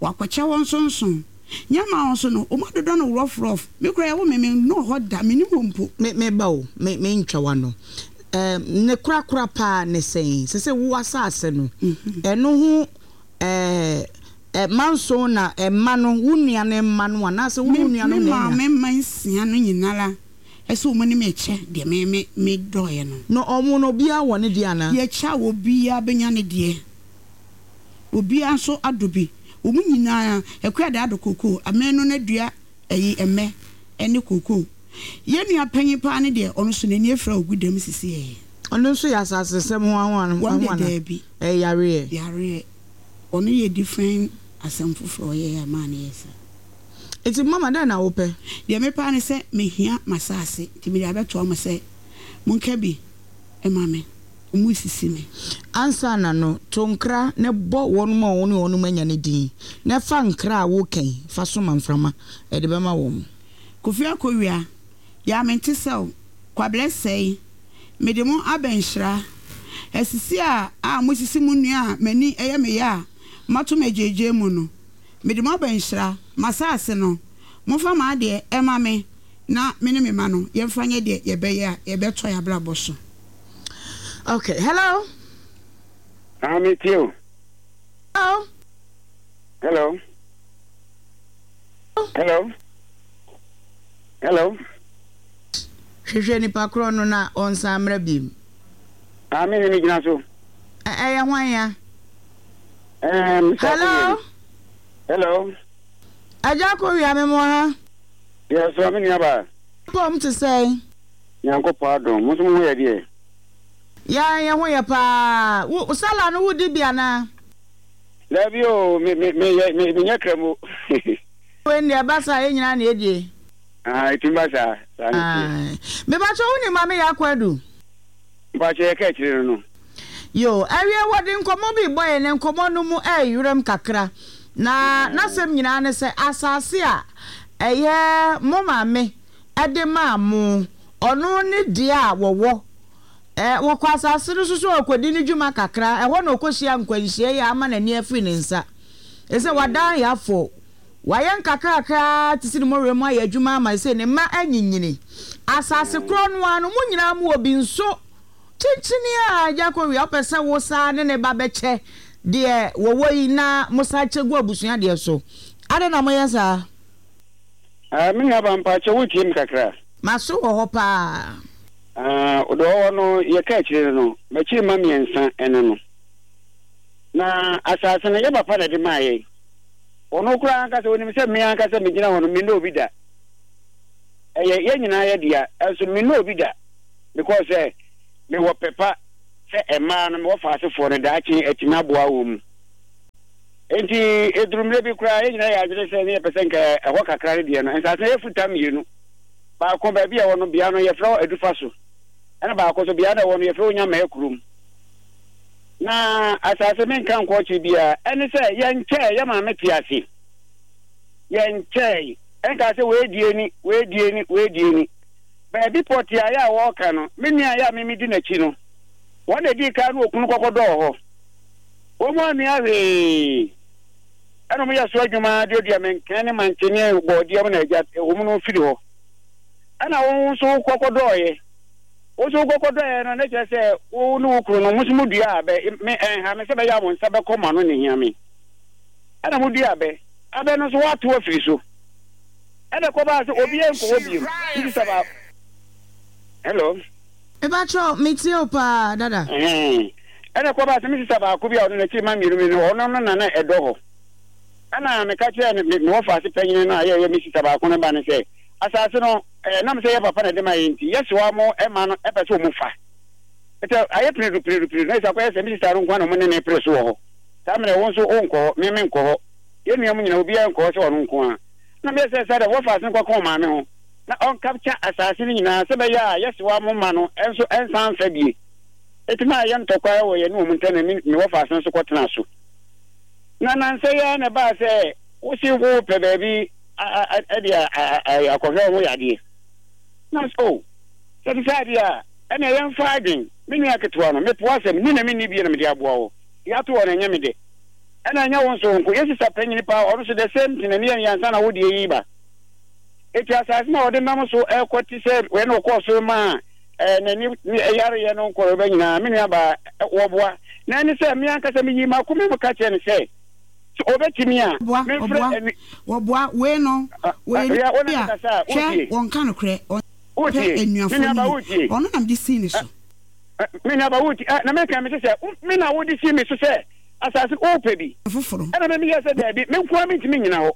Speaker 4: wɔakɔkyɛ hɔ nsonson. Nyama hɔ nso no, wɔadodɔ no rɔfrɔf. Me koraa, ɛwo me, mennɔɔ hɔ da, mennim hɔ mpo.
Speaker 1: Me, me ba o, me, mentwa w'ano. Ɛɛm, ne korakora paa ne sɛn? Sɛ sɛ wo asase no, ɛno ho, ɛɛ, ɛ, manson na mma no, wo nua no mma no anaasɛ wo ne
Speaker 4: Me,
Speaker 1: wo nuanom
Speaker 4: me
Speaker 1: na anya?
Speaker 4: maame mma nsia no nyinara, ɛsɛ wɔn ne me kyɛ deɛ me, me, medɔeɛ no.
Speaker 1: Na wɔn no, obiara wɔ ne deɛ anaa?
Speaker 4: Yɛkyɛ a, obiara bɛnya ne deɛ. Obiara nso adɔ bi. Wɔn nyinaa, Akua de adɔ kookoo, Amanu no adua ayi mmɛ ne kookoo. Yɛn nua panyin paa no deɛ, ɔno nso n'ani afira a ɔgu dam sisiɛ.
Speaker 1: Ɔno nso yɛ asasesɛm ho ho
Speaker 4: Wɔn deɛ
Speaker 1: anaa?
Speaker 4: daabi.
Speaker 1: Ɛyɛ yareɛ.
Speaker 4: Yareɛ. Ɔno yɛ different asɛm foforɔ a ɔyɛeɛ a ɛmaa no yɛɛ saa.
Speaker 1: Nti mama dɛn na wopɛ?
Speaker 4: Deɛ mepɛ ara ne sɛ mehia m'asase, nti mede abɛtoa mo sɛ monka bi ma me. Wɔresisi me.
Speaker 1: Ansa na no, to nkra na bɔ wɔnom a wo ne wɔnom anya no din, na fa nkra a woreka yi fa soma mframa de bɛma wɔn.
Speaker 4: Kofi Akowia, Yaa mente sɛ wo, Kwablɛ sɛe, mede mo aba nhyira. Asisi a a mosisi mo nua a m'ani yɛ me ya a moato me agyeegyee mu no, mede mo aba nhyira. M'asase no, momfa m'adeɛ mma me na me ne me mma no yɛmfa nyɛ deɛ yɛbɛyɛ a yɛbɛtoa yɛn abrabɔ so.
Speaker 1: Okay, hello.
Speaker 5: Ah, me tie o.
Speaker 1: Hello.
Speaker 5: Hello. Hello. Hello.
Speaker 1: Hwehwɛ nipa korɔ no na ɔnsan mmra biem.
Speaker 5: Ah, me ne me gyina so.
Speaker 1: Ɛyɛ hwan ya?
Speaker 5: Eh, Mister
Speaker 1: Hello.
Speaker 5: Hello.
Speaker 1: Agya Kowia me mo ha.
Speaker 5: Yes, so me nua ba.
Speaker 1: Pɔm te sɛn?
Speaker 5: Nyankopɔn adom. Mo nso mo ho yɛ deɛ?
Speaker 1: Yɛn yɛn ho yɛ paa. Wo sala no wodi bi anaa?
Speaker 5: Dabi o, me me me yɛ me menyɛ kramo.
Speaker 1: Wei deɛ ɛba saa yɛn nyinaa na edie.
Speaker 5: Ah, etumi ba saa, saa na ɛteɛ.
Speaker 1: Mepakyɛ wo nim Maame Yaa Kwadu?
Speaker 5: Mpakyɛ yɛka akyire no no.
Speaker 1: Yoo, awie wɔde nkɔmmɔ bi rebɔ yɛn na nkɔmmɔ no mu ɛreyerɛm kakra. Na n'asɛm nyinaa ne sɛ asase a ɛyɛ mo maame de maa mo, ɔno ne deɛ a wɔwɔ. Ɛ, wɔkɔ asase no so sɛ ɔrekɔdi ne dwuma kakra, ɛhɔ na ɔkɔhyia nkwanhyia yi a ama n'ani afiri ne nsa. Ɛsɛ wadan yafo. Wayɛ nkakrakra ara te sɛ ne mmɔwerɛ mu ayɛ adwuma ama sɛ ne mma anyinyini. Asase korɔ no ara no, mo nyinaa mowɔ bi nso. Kyenkyene a agya kɔwia, wopɛ sɛ wo saa ne ne ba bɛkyɛ deɛ wɔwɔ yi na mosan kyɛ gu abusua deɛ so. Adɛn na moyɛ saa?
Speaker 5: Ah, me nuaba, mpakyɛ wotie me kakra?
Speaker 1: M'aso wɔ hɔ paa.
Speaker 5: Ah, deɛ ɔwɔ no, yɛka akyire no no, m'akyiri mma mmiɛnsa ɛne no. Na asase no, yɛ papa na ɛde maa yɛn. Ɔno koraa ankasa, ɔnim sɛ me ankasa megyina hɔ no, mennɔ obi da. Ɛyɛ yɛn nyinaa yɛ dea, nso mennɔ obi da because sɛ mewɔ pɛ pa sɛ mmaa no mewɔ faasefoɔ no daakye atumi aboa wɔn mu. Enti ɛduru mmerɛ bi koraa yɛn nyinaa yɛ adwene sɛ ne yɛpɛ sɛ nka ɛhɔ kakra no deɛ no nsase no yɛ futa mmienu. Baako baabi a ɛwɔ no bea no yɛfrɛ hɔ Adufa so, ɛna baako nso bea no ɛwɔ no yɛfrɛ hɔ Nyamaa kurom. Na asase menka nkɔ akyiri biara ɛne sɛ yɛnkyɛɛ yɛ maame te ase. Yɛnkyɛe. Ɛnkaa sɛ wei die ni, wei die ni, wei die ni. Baabi pɔtee a yɛ a wɔreka no, me nua a yɛ a me medi n'akyi no, wɔn na ɛdii kan ne okunu kɔkɔdɔɔ hɔ. Wɔn annua hwee. Ɛna wɔyɛ so adwuma duadua mankɛn ne mankye ne bɔɔdeɛ mu na agya wɔn no firi hɔ. Ɛna wo nso wokɔkɔdɔɔeɛ. Wo nso wokɔkɔdɔɔeɛ no, na kyerɛ sɛ wo ne wo kunu no, mo nso modua abɛ. Me, ɛnha me sɛ bɛyɛ a mo nsa bɛkɔ mo ano na ɛhia me. Ɛna modua abɛ. Abɛ no nso wɔato afiri so. Ɛna ɛkɔbaa sɛ obiara nkɔ hɔ bio. Nti sɛ ba. Hello.
Speaker 1: Mepakyɛw, metie wo paa, dada.
Speaker 5: Ɛhɛn. Ɛna ɛkɔbaa sɛ me sista baako bi a ɔno n'akyiri mma mmienu no, ɔno no na na ɛdɔ hɔ. Ɛna meka kyerɛɛ no, me, me wɔfaase panyin no a yɛ ɛyɛ me sista baako no ba no sɛ, asase no, ɛnam sɛ yɛ papa na ɛde ma yɛn nti, yɛsewa mo mma no pɛ sɛ wɔn fa. Ɛtɛ, ayɛ piredu piredu piredu, na ɛsɛ akɔyɛ sɛ me sista no nko ara na wɔn ne no repere so wɔ hɔ. Saa mmerɛ wo nso wonkɔ hɔ, me menkɔ hɔ. Yɛn nua mu nyinaa obiara nkɔ hɔ sɛ ɔno nko ara. Na meyɛ sɛ sɛ dɛ wɔfa ase nkɔka ɔmaame ho na ɔnkapkya asaase no nyinaa sɛ bɛyɛ a yɛsewa mo mma no nso nsan mfa bie. Enti na ayɛ ntɔkwa wɔ yɛne wɔn ntam na me me wɔfa ase nso kɔtenaa so. Na nnansa yi ara na ɛbaa sɛ wose worepɛ baabi de akɔhwɛ wo ho yadeɛ. Na sɛ o, sɛ ɛte saa deɛ a, ɛnneɛ yɛmfa adwene. Me nua ketewa no, mepo asɛm, ni na menni bie na mede aboa wo. Deɛ ato hɔ no, ɛnyɛ me dɛ. Ɛna ɛnyɛ wo nso wo nko. Yɛ sista panyini paa, ɔno nso the same thing na ne yɛ ansa na wo deɛ yi ba. Eti asase no a ɔde nam so ɛkɔ te sɛ wei na ɔkɔɔ so maa ɛɛ n'ani yareɛ no nkɔrɔ bɛ nyinaa, me nua baa wɔboa. Na ɛne sɛ me ankasa meyii m'akoma mu ka kyerɛ no sɛ, sɛ ɔbɛtumi a,
Speaker 4: Wɔboa,
Speaker 5: memfrɛ
Speaker 4: wɔboa,
Speaker 5: ɛne.
Speaker 4: wɔboa, wei no, wɔyɛ
Speaker 5: Hwɛ, wo
Speaker 4: nipa
Speaker 5: ne
Speaker 4: bi
Speaker 5: me
Speaker 4: a,
Speaker 5: kasa a,
Speaker 4: hwɛ,
Speaker 5: wotie.
Speaker 4: wɔnka nokorɛ, ɔmpɛ
Speaker 5: Wotie, me
Speaker 4: anuafoɔ
Speaker 5: nua
Speaker 4: no
Speaker 5: baa
Speaker 4: yie,
Speaker 5: wotie.
Speaker 4: ɔno na mede sii ne so.
Speaker 5: Me nua baa wotie, na meka mese sɛ, me na wode sii me so sɛ asase wopɛ bi.
Speaker 4: Foforo.
Speaker 5: Ɛna me meyɛɛ sɛ daabi, me nko ara mentumi nnyina hɔ,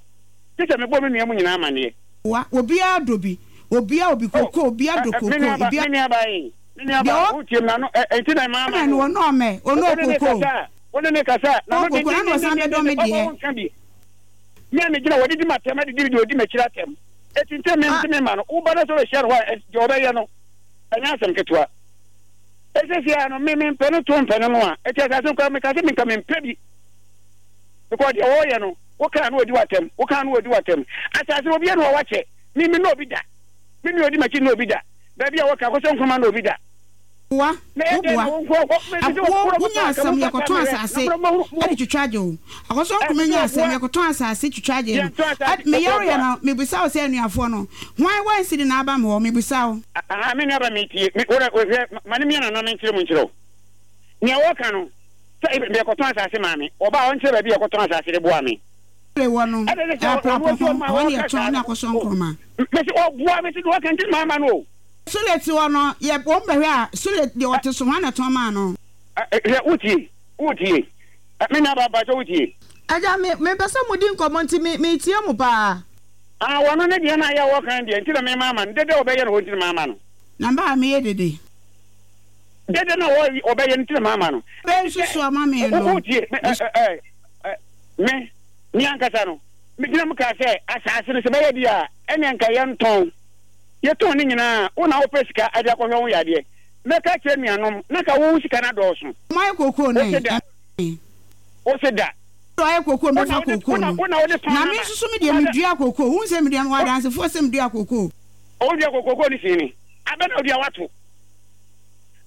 Speaker 5: gye sɛ mebɔ me nua mu nyinaa amanneɛ.
Speaker 4: Wa, obiara dɔ bi, obiara obi
Speaker 5: Oh,
Speaker 4: koko, obiara dɔ
Speaker 5: ɛ, ɛ,
Speaker 4: koko,
Speaker 5: me nua ba,
Speaker 4: ebi.
Speaker 5: me nua ba ee, me nua
Speaker 4: Deɛ
Speaker 5: ba,
Speaker 4: ɔ.
Speaker 5: wotie me n'ano, ɛ, enti na maa ma
Speaker 4: Ɔmɛ
Speaker 5: no
Speaker 4: no,
Speaker 5: o.
Speaker 4: ɔnɔ ɔmɛ,
Speaker 5: Wo
Speaker 4: ɔnɔ
Speaker 5: wo ne ne
Speaker 4: koko.
Speaker 5: kasa a, wo ne ne kasa a,
Speaker 4: Ɔnɔ
Speaker 5: n'ano
Speaker 4: koko, na na ɔsan bɛdɔ me
Speaker 5: dendendendenden, ɔma
Speaker 4: deɛ.
Speaker 5: wonka bi. Me a megyina hɔ, ɔdidi m'atɛm, adidi deɛ ɔdi m'akyiri atɛm. Enti nti me,
Speaker 1: Ah.
Speaker 5: mese memma no, wo ba no sɛ ɔbɛhyia no hɔ a, ɛ, deɛ ɔbɛyɛ no, ɛnyɛ asɛm ketewa. Ɛsɛsi ara no, me, mempɛ no to mpɛ no no a, enti asase no koraa, meka sɛ menka mempɛ bi. Because deɛ wɔreyɛ no, wokaa no ɔdi w'atɛm, wokaa no ɔdi w'atɛm. Asase no obiara na wakyɛ. Me me na obi da. Me nua odi m'akyi na obi da. Baabi a wɔka akɔsɛ nkruma na obi da.
Speaker 4: Boa,
Speaker 5: Na ɛyɛ
Speaker 4: wo
Speaker 5: dɛn
Speaker 4: boa.
Speaker 5: na wo nko hɔ? Me
Speaker 4: Ak
Speaker 5: sɛ
Speaker 4: wo,
Speaker 5: wɔkoro
Speaker 4: wo nya
Speaker 5: mo paa, ka
Speaker 4: asɛm,
Speaker 5: mo fata
Speaker 4: yɛkɔtɔn
Speaker 5: mmerɛ. Na
Speaker 4: asase
Speaker 5: mo mo mo.
Speaker 4: de twitwa gye wo. Akɔsɔ
Speaker 5: Ɛsɛ
Speaker 4: nkruma
Speaker 5: sɛ
Speaker 4: nya asɛm,
Speaker 5: wɔboa.
Speaker 4: yɛkɔtɔn asase twitwa gye no.
Speaker 5: Yɛntɔ
Speaker 4: Ad,
Speaker 5: asase,
Speaker 4: me yareɛ
Speaker 5: wɔboa.
Speaker 4: no, mebisa wo sɛ anuafoɔ no, hwan one cedi na aba me hɔ? Mebisa wo.
Speaker 5: Aha, me nua ba metie. Me, wo dɛ, hwɛ, ma ne mmea nana menkyerɛ mu nkyerɛ wo. Nea wɔka no, sɛ yɛkɔtɔn asase maa me. Ɔba a ɔnkyerɛ baabi a yɛkɔtɔn asase de boa me.
Speaker 4: Sule wɔ no,
Speaker 5: Ɛna ɛsɛ sɛ
Speaker 4: Aprapɔ
Speaker 5: ɔno
Speaker 4: ho,
Speaker 5: nso ɔma
Speaker 4: ɛhɔ ne
Speaker 5: ɔka
Speaker 4: yɛtɔn
Speaker 5: saa
Speaker 4: ne
Speaker 5: no.
Speaker 4: akɔsɔ nkruma.
Speaker 5: Mese ɔboa me sɛ deɛ ɔka nti na mama no o.
Speaker 4: Sule te hɔ no, yɛ wɔn bɛhwɛ a, Sule deɛ ɔte so, hwan na ɛtɔn maa no?
Speaker 5: Hwɛ, wotie, wotie. Me nua baa mpakyɛ wotie.
Speaker 1: Agya, me, mepɛ sɛ modi nkɔmmɔ nti me, meretie mo paa.
Speaker 5: Ah, wɔno ne deɛ na ayɛ a wɔka no deɛ nti na mema ama no, dede a ɔbɛyɛ no hɔ nti na mama no.
Speaker 4: Na mba a meyɛ dede.
Speaker 5: Dede na ɔbɛyɛ no nti na mama no.
Speaker 4: Bɛ nsusu ama me no.
Speaker 5: Wotie, me, ɛ, ɛ, ɛ, me, me ankasa no, megyina mu kaa sɛ, asase no sɛ bɛyɛ deɛ a, ɛnneɛ nka yɛntɔn. Yɛtɔn ne nyinaa a, wo na wopɛ sika de akɔhwɛ wo yadeɛ. Mɛka akyerɛ nuanom, na nka wo sika no adɔɔso.
Speaker 4: Moayɛ kookoo no
Speaker 5: Wose
Speaker 4: ɛ,
Speaker 5: da.
Speaker 4: ɛmee.
Speaker 5: Wose da.
Speaker 4: Ayɛ kookoo
Speaker 5: Wo na
Speaker 4: mɛfa
Speaker 5: wode,
Speaker 4: kookoo
Speaker 5: wo na,
Speaker 4: no.
Speaker 5: wo na wode tɔn
Speaker 4: Na
Speaker 5: no
Speaker 4: me
Speaker 5: ama.
Speaker 4: nso so me deɛ
Speaker 5: Wo na,
Speaker 4: medua kookoo. Wohu sɛ medua, mewɔ adansefoɔ sɛ medua kookoo.
Speaker 5: Ɔwodua kookoo, kookoo no sii ne. Abɛ na odua wato.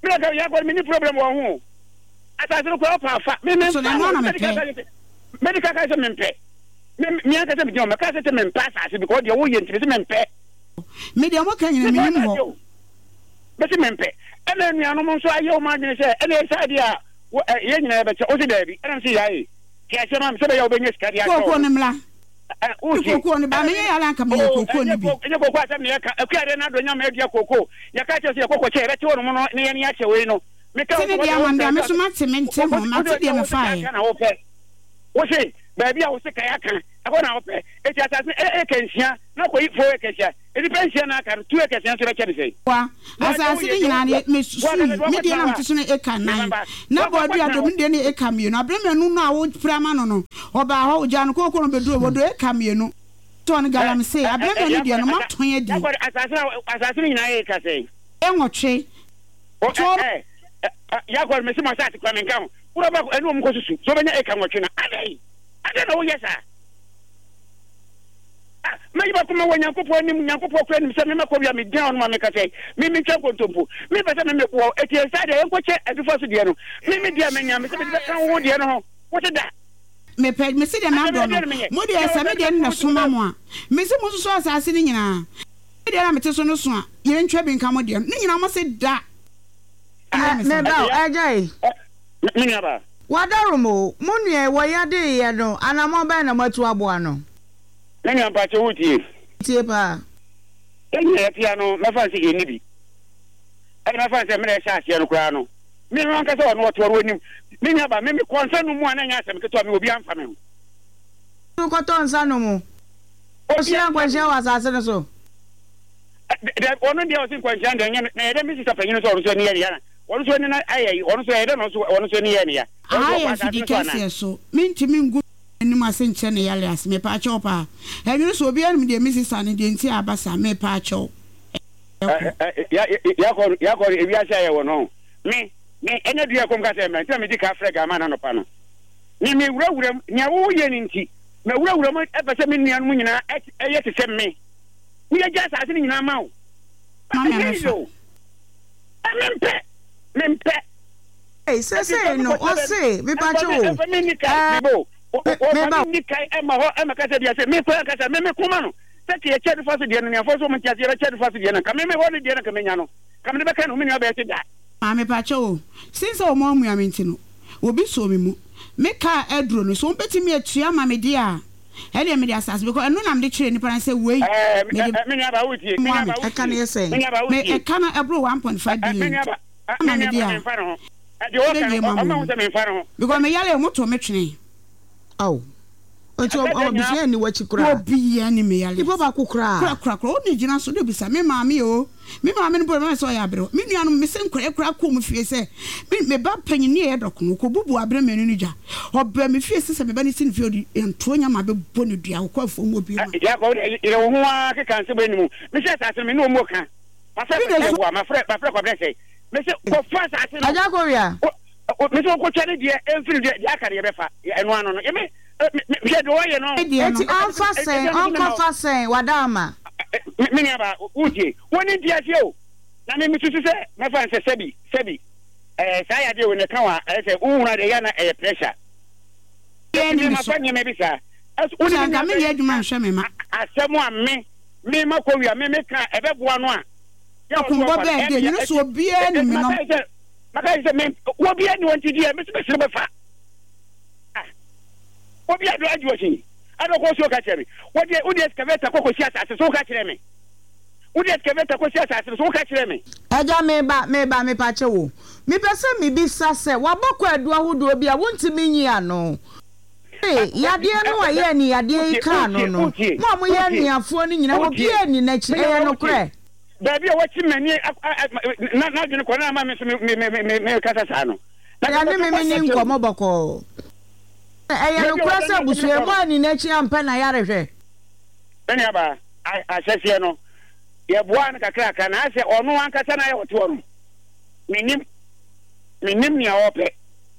Speaker 5: Me na ka yɛ akɔ me ni problem wɔ ho. Asase no kura ɔpa afa. Me me
Speaker 4: So na
Speaker 5: nfa
Speaker 4: ɛno
Speaker 5: ho.
Speaker 4: ara na
Speaker 5: Me ka
Speaker 4: mepɛ.
Speaker 5: sɛ me de ka ka sɛ me mpɛ. Me me ankasa me gyina me ka sɛ sɛ me mpɛ asase because deɛ woyɛ nti me sɛ me mpɛ.
Speaker 4: Me deɛ mo ka nyina
Speaker 5: Me
Speaker 4: menim
Speaker 5: pɛ
Speaker 4: hɔ.
Speaker 5: asase o. Me sɛ me mpɛ. Ɛna anuanom nso ayɛ wɔn adwene sɛ ɛna ɛsɛ adeɛ a wo ɛ yɛn nyinaa yɛbɛkyɛ. Wo sɛ daabi. Ɛna me sɛ yae. Te aseɛ ma me sɛ bɛyɛ a wobɛnya sika de akyɛ
Speaker 4: Kookoo
Speaker 5: wɔn.
Speaker 4: no mmra.
Speaker 5: Ɛ wotie.
Speaker 4: Kookoo no ba
Speaker 5: Ɛna
Speaker 4: menyɛ
Speaker 5: me
Speaker 4: yare anka meyɛ
Speaker 5: oh
Speaker 4: kookoo
Speaker 5: ɛnyɛ
Speaker 4: no bi.
Speaker 5: ko ɛnyɛ kookoo asɛm na yɛka. Akua deɛ n'adɔ nyama adua kookoo. Yɛka kyerɛ sɛ yɛkɔ kɔkyɛ yɛbɛte hɔ nom no na yɛne akyɛ wei no. Meka
Speaker 4: Te
Speaker 5: wo
Speaker 4: ne
Speaker 5: sɛ
Speaker 4: deɛ
Speaker 5: wɔde
Speaker 4: ama
Speaker 5: wo
Speaker 4: me deɛ
Speaker 5: mpɛ
Speaker 4: me
Speaker 5: sɛ
Speaker 4: so mate mente
Speaker 5: wo
Speaker 4: ho
Speaker 5: wo
Speaker 4: mate
Speaker 5: de
Speaker 4: deɛ
Speaker 5: wo sika
Speaker 4: mefaeɛ.
Speaker 5: aka na wopɛ. Wo se baabi a wo sika aka Ɛhɔ na wopɛ. Enti asase no eka nsia, na kɔyi four acres a, nnipa nsia na aka no, two acres nso bɛkyɛ no sɛn?
Speaker 4: Wa, asase no nyinaa no, mesusui, me deɛ na mete so no eka nnan, na bɔɔdua dɔ, me deɛ no yɛ eka mmienu. Aberɛ mmienu no a wopere ama no no, ɔbaa hɔ, ɔgyaa no kooko no bɛduruu hɔ, ɔdɔ eka mmienu. Tɔɔ no galamsey, aberɛ mmienu deɛ no, moatɔn adi.
Speaker 5: Asase no, asase no nyinaa yɛ eka sɛn?
Speaker 4: Nwɔtwe.
Speaker 5: O, ɛ, ɛ, Yakob, mese mo asase koraa menka ho. Wura baako, ɛne wɔn nkɔsusu sɛ wobɛnya eka nwɔtwe no. Adɛn? Adɛn na woyɛ saa? Ah, mayi m'akoma wɔ Nyankopɔn anim, Nyankopɔn koraa nim sɛ me makɔ wia, megyina hɔ nom a meka sɛ, me mentwa nkontompo, mempɛ sɛ me meboa wo, enti ɛnsaa deɛ yɛnkɔkyɛ adufa so deɛ no, me me deɛ manya, mese mede bɛka wo deɛ no ho, wote da?
Speaker 4: Mepɛ, mese deɛ madɔ no, mo deɛ sɛ me deɛ no na ɛso ma mo a, mese monsusu asase no nyinaa, me deɛ na mete so no so a, yɛntwa bi nka mo deɛ no, ne nyinaa mose da.
Speaker 1: Ɛ, me ba o, agya yi.
Speaker 5: Me nuabaa.
Speaker 1: Wadarom o, mo nua yi, wɔ yadeeyɛ no, anamɔn bɛn na moatu aboa no?
Speaker 5: Me nua mpakyɛ wo tie?
Speaker 1: Tie paa.
Speaker 5: Yɛn nyinaa yɛte ano, mɛfa no sɛ yɛnni bi. Ɛna mɛfa no sɛ mmerɛ ɛhyɛ aseɛ no koraa no, me no ankasa ɔno ɔte ɔno ɔnim. Me nua ba, me mekɔ nsa nom mu a na ɛnyɛ asɛm ketewa, me obiara mfa me ho.
Speaker 1: Wokɔtɔ nsa nom? Wohyia nkwanhyia wɔ asase no so?
Speaker 5: Dabi, ɔno deɛ ɔse nkwanhyia deɛ ɛnyɛ no, na ɛyɛ dɛ me sista panyin no sɛ ɔno nso ani yɛ ne ya na ɔno nso ani no ayɛ yi, ɔno nso ɛyɛ dɛ na ɔno nso ɔno nso ani yɛ ne ya. Ɔno
Speaker 4: Aha
Speaker 5: nso
Speaker 4: yɛ
Speaker 5: ɔkɔ asase
Speaker 4: afidi
Speaker 5: no so anaa?
Speaker 4: kɛseɛ so, mentumi ngu m'anim ase nkyerɛ ne yare ase, mepaakyɛw paa. Ɛnwene sɛ obiara nim deɛ me sista no deɛ nti a aba saa, mepaakyɛw. Ɛkɔ.
Speaker 5: Yɛakɔ yɛakɔ ewiase a yɛwɔ no, me me ɛnyɛ dua ɛkɔm ka sɛ mmra nti na medi ka frɛ Gama no anɔpa no. Me me wurawura mu, nea woyɛ no nti, mawurawura mu ɛpɛ sɛ me nuanom nyinaa ɛyɛ te sɛ me. Ne yɛgya asase no nyinaa ma wo.
Speaker 4: Ma me
Speaker 5: Ɛnyɛ easy
Speaker 4: amefa.
Speaker 5: o. Mempɛ, mempɛ.
Speaker 1: Ei sesei no ɔse mepakyɛ o ɛɛ me meba o.
Speaker 5: Nni kan mma hɔ mmɛkasa bia sɛ me koraa ankasa me me koma no sɛ ka yɛkyɛ nifa so deɛ no nuafoɔ nso wɔn nte aseɛ yɛbɛkyɛ nifa so deɛ no nka me me hɔ no deɛ no nka menya no nka mede bɛka ne ho me nua bɛyɛ se da.
Speaker 4: Maame pakyɛ o since sɛ wɔn amua me nti no obi soo me mu me car aduro no so wɔn bɛtumi atua ama me deɛ a ɛdeɛ mede asase because ɛno na mede kyerɛ nipa no sɛ wei mede
Speaker 5: Me nuabaa wotie me
Speaker 4: moa me
Speaker 5: nuabaa
Speaker 1: Ɛka no
Speaker 5: wotie
Speaker 1: yɛ sɛn?
Speaker 5: me nuabaa
Speaker 4: me
Speaker 5: wotie
Speaker 4: ɛka no ɛboro one point five
Speaker 5: me
Speaker 4: billion
Speaker 5: nuabaa
Speaker 4: ama
Speaker 5: me
Speaker 4: me deɛ
Speaker 5: nuabaa
Speaker 4: a
Speaker 5: memfa ne ho deɛ ɔka
Speaker 4: ɛbɛwie
Speaker 5: no
Speaker 4: ma
Speaker 5: ɔma
Speaker 4: mo
Speaker 5: ho sɛ memfa ne ho.
Speaker 4: Because me yare ɔmo too me twene.
Speaker 1: Ao. Nti ɔ ɔ abusua nni w'akyi koraa?
Speaker 4: Obiara nni me yare
Speaker 1: Nipa
Speaker 4: ase.
Speaker 1: baako koraa?
Speaker 4: Kora kora kora ɔne gyina so de bisa me maame oo. Me maame no mpo deɛ mɛma sɛ ɔyɛ aberewa. Me nuanom me se nkwadaa koraa kɔɔ mu fie sɛ me me ba panyin ne ɛyɛ dɔkono ɔkɔbubu abere mmienu no gya. Ɔbaa me fie sɛ sɛ me ba no si ne fie ɔde ntoɔ nyama bɛbɔ no dua ɔkɔ afuom hɔ bio ma.
Speaker 5: Jacob wo deɛ yere wo ho ara keka nsɛm wei no mu. Mese asase no me ne wɔn mu ka. Mafrɛ
Speaker 4: Bi na
Speaker 5: Kwasi
Speaker 4: su.
Speaker 5: Aboa, mafrɛ mafrɛ Kwabena Sɛe. Mese kɔfa asase no.
Speaker 1: Agya Kowia.
Speaker 5: Mese wɔnkɔtwa ne deɛ ɛmfiri deɛ deɛ aka no yɛbɛfa. Ɛno ano no. Yɛme hwɛ deɛ ɔyɛ no.
Speaker 4: Deɛ
Speaker 1: Eti
Speaker 4: no.
Speaker 1: ɔnfa sɛn ɔnkɔfa sɛn wada ama.
Speaker 5: Me nuabaa wotie. Wɔn nti aseɛ o. Na me mesusu sɛ mɛfa no sɛ sɛbi sɛbi ɛɛ saa yadeɛ wei na ɛka wa ɛyɛ sɛ wohunu adeɛ yɛ na ɛyɛ pressure.
Speaker 4: Yɛ ne
Speaker 5: Me
Speaker 4: me so.
Speaker 5: mafa nneɛma bi saa. Ɛso wo ne
Speaker 4: Sɛ
Speaker 5: me
Speaker 4: anka
Speaker 5: nua
Speaker 4: menyɛ
Speaker 5: bɛn
Speaker 4: adwuma nhwɛ me ma.
Speaker 5: asɛm a me me makɔ wia me meka ɛbɛboa no a. Yɛ ɔso
Speaker 4: Ɔkombɔ
Speaker 5: ɔfa no
Speaker 4: bɛɛ deɛ
Speaker 5: ɛmea
Speaker 4: nyina so obiara nim me nɔm.
Speaker 5: Maka sɛ maka sɛ me obiara ni wɔn ti deɛ mesi mesi no bɛfa. Ah obi ado agye ɔsi ado kɔ so ka kyerɛ me wɔde wode excavator kɔ kɔsi asase so ka kyerɛ me wode excavator kɔsi asase so ka kyerɛ me.
Speaker 1: Agya meba meba mepakyɛ wo mepɛ sɛ mebisa sɛ wabɔ kwaadu ahodoɔ bi a wontumi nyi ano ee yadeɛ no a ɛyɛ ani yadeɛ yi kaa no no mo a moyɛ anuafoɔ no nyinaa obiara nni n'akyi ɛyɛ nokorɛ.
Speaker 5: Baabi a wakyi m'ani na n'adwene kɔ na ama me nso me me me me kasa saa no.
Speaker 1: Agya ne me menni nkɔmmɔ bɔkɔɔ. Ɛyɛ nokorɛ sɛ abusua yi moanni n'akyi ampɛ n'ayarehwɛ?
Speaker 5: Me nuabaa, ahyɛseɛ no, yɛboaa no kakrakra, na asɛ ɔno ankasa na ayɛ ɔte hɔ no, mennim, mennim nea ɔrepɛ.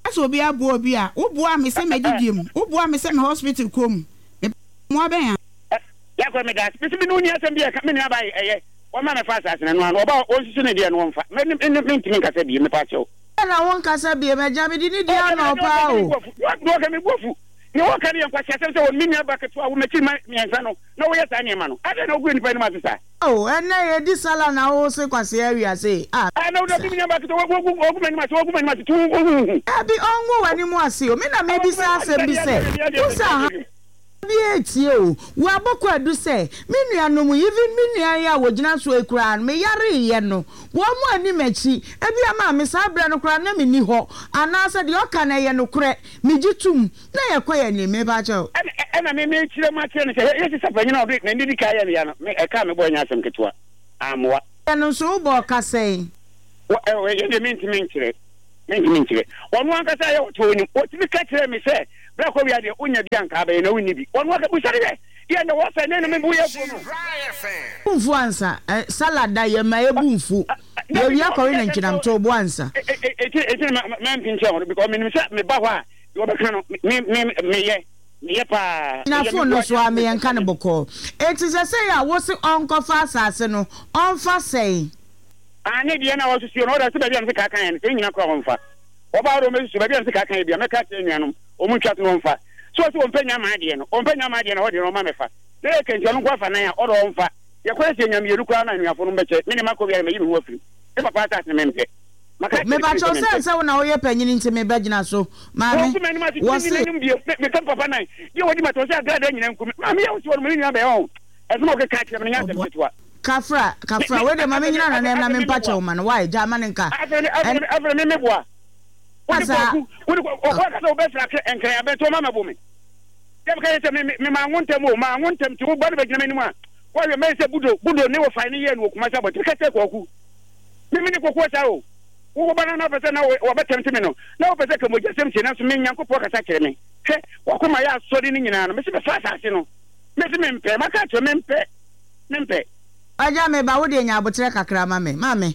Speaker 4: Sɛ obi aboa obi a, wo boa me sɛ m'adidie mu, wo boa me sɛ me hospital kɔ mu, me mmoa bɛn a.
Speaker 5: Yakob meda ase, mese me ne wo nni asɛm bi a ɛka, me nuabaa yi, ɛyɛ, wɔmma mɛfa asase no, ɛno ara no, ɔba a ɔnsusu ne deɛ no ɔmfa, me, me, mentumi nkasa bio, mepa kyɛw.
Speaker 1: Adɛn na wonkasa bio, m'agya? Mede nidi ama wo paa o.
Speaker 5: Deɛ ɔka, me bo afu. Deɛ wɔka no yɛ nkwaseasɛm sɛ wɔn me nua ba ketewa a wo m'akyiri mma mmiɛnsa no na woyɛ saa nneɛma no. Adɛn na wogu nnipa anim ase saa?
Speaker 1: Ao, ɛnnɛ yɛdi sala na wose kwasea awia sei a,
Speaker 5: Ah, na wode me nua ba ketewa, wogu, wogu m'anim ase, wogu m'anim ase, tu wo ho hu.
Speaker 1: Dabi, ɔngu w'anim ase o. Me na mebisa asɛm bi sɛ, wo sɛ aha. Obiara retie o. Wabɔ kwaadu sɛ, Me nuanom, even me nua yi a wɔgyina soɔ yi koraa no, meyareeɛ no, wɔn anni m'akyi. Ebia maame, saa berɛ no koraa na menni hɔ. Anaasɛ deɛ ɔka no ɛyɛ nokorɛ? Megye tom. Na yɛkɔ yɛn anim. Mepa kyɛw.
Speaker 5: Ɛna, Ɛna me mekyerɛ mu akyerɛ no sɛ yɛ sisa panyin a ɔde n'ani di kan yɛ no ya no, me ɛka me bɔ ɛnyɛ asɛm ketewa. Amoa.
Speaker 1: Ɛno nso wobɔ ɔka sɛn?
Speaker 5: Wɔ ɛ yɛ deɛ mentumi nkyerɛ. Mentumi nkyerɛ. Ɔno ankasa yɛ ɔte onim. Ɔtumi ka kyerɛ me sɛ berɛ kɔ wia deɛ wonya bi anka abɛyɛ na wonni bi. Ɔno aka busa ne hwɛ. Deɛ na wɔsɛ ne no me bo yɛ afuo no.
Speaker 1: Bu mfu ansa. Ɛ salad da yɛ ma ebu mfu. Yɛwia kɔwe na nkyinam to bo ansa.
Speaker 5: Eti eti na mɛmpi nkyɛn hɔ no because menim sɛ meba hɔ a deɛ wɔbɛka no me me meyɛ meyɛ paa.
Speaker 1: Na phone no so a meyɛ nka no bɔkɔɔ. Eti sɛsɛi a wose ɔnkɔfa asase no ɔnfa sɛn?
Speaker 5: Aane deɛ na wɔsusuo no ɔda sɛ baabi a mese kaa kan yɛ no sɛ ne nyina koraa wɔmfa. Wɔba hɔ de wɔbɛsusu baabi a mese kaa kan yɛ bia mɛka akyerɛ anuanom wɔn ntwa so na wɔmfa. So ɔse ɔmpɛ nya maa deɛ no ɔmpɛ nya maa deɛ no ɛhɔ deɛ no ɔma mɛfa. Na yɛ kɛnti ɔno nko afa nan a ɔdɔ ɔmfa. Yɛkɔ yɛ sɛ yɛnya mmienu koraa na anuafo no mbɛkyɛ me ne makɔ wiare mayi me ho afiri mu. Me papa asase no mempɛ. Maka akyerɛ no pii
Speaker 1: Mepakyɛw
Speaker 5: sɛ
Speaker 1: sɛ
Speaker 5: mempɛ.
Speaker 1: sɛ wo na woyɛ panyin nti mebɛgyina so. Maame,
Speaker 5: Wɔnku m'anim ase tumi nni
Speaker 1: wɔse.
Speaker 5: m'anim bio. Me meka me papa nan deɛ wɔdi m'atɛm ɔse agradaa nyinaa nku me. Maame yɛ wo se wɔnom ne nua bɛyɛ ɔho. Ɛsɛm a ɔkeka kyerɛ me no nyɛ asɛm
Speaker 1: Ɔboa.
Speaker 5: ketewa.
Speaker 1: Kafra,
Speaker 5: Me
Speaker 1: kafra,
Speaker 5: me
Speaker 1: wei deɛ ma
Speaker 5: afei me
Speaker 1: menyina
Speaker 5: afei
Speaker 1: nanam na
Speaker 5: afei me
Speaker 1: mempa
Speaker 5: meboa.
Speaker 1: kyɛw ma no, why, gyaa ma no nka.
Speaker 5: Afei me afei
Speaker 1: Ɛn
Speaker 5: me afei me meboa. Wode
Speaker 1: saa.
Speaker 5: kwaku wode kwa ɔkɔ akasa wobɛfra kɛ nkran abɛn nti ɔma mɛbo me. Yɛ meka yɛ sɛ me me me maa wo ntɛm o maa wo ntɛm nti wo ba no bɛgyina m'anim a wɔhwɛ mɛyɛ sɛ budo budo ne wɔfae ne yɛɛ no wɔ Kumasi abɔnten meka kyerɛ kwaku me me ne kokoɔ saa o wo wo ba no na wopɛ sɛ na wɔbɛtɛmte me no na wopɛ sɛ ka mogyasɛm tie nanso me Nyankopɔn kasa kyerɛ me hwɛ wakoma yɛ asɔre no nyinaa no mese bɛfa asase no mese mempɛ maka akyerɛ mempɛ mempɛ.
Speaker 1: Agya me ba wo deɛ nya aboterɛ kakra ma me maame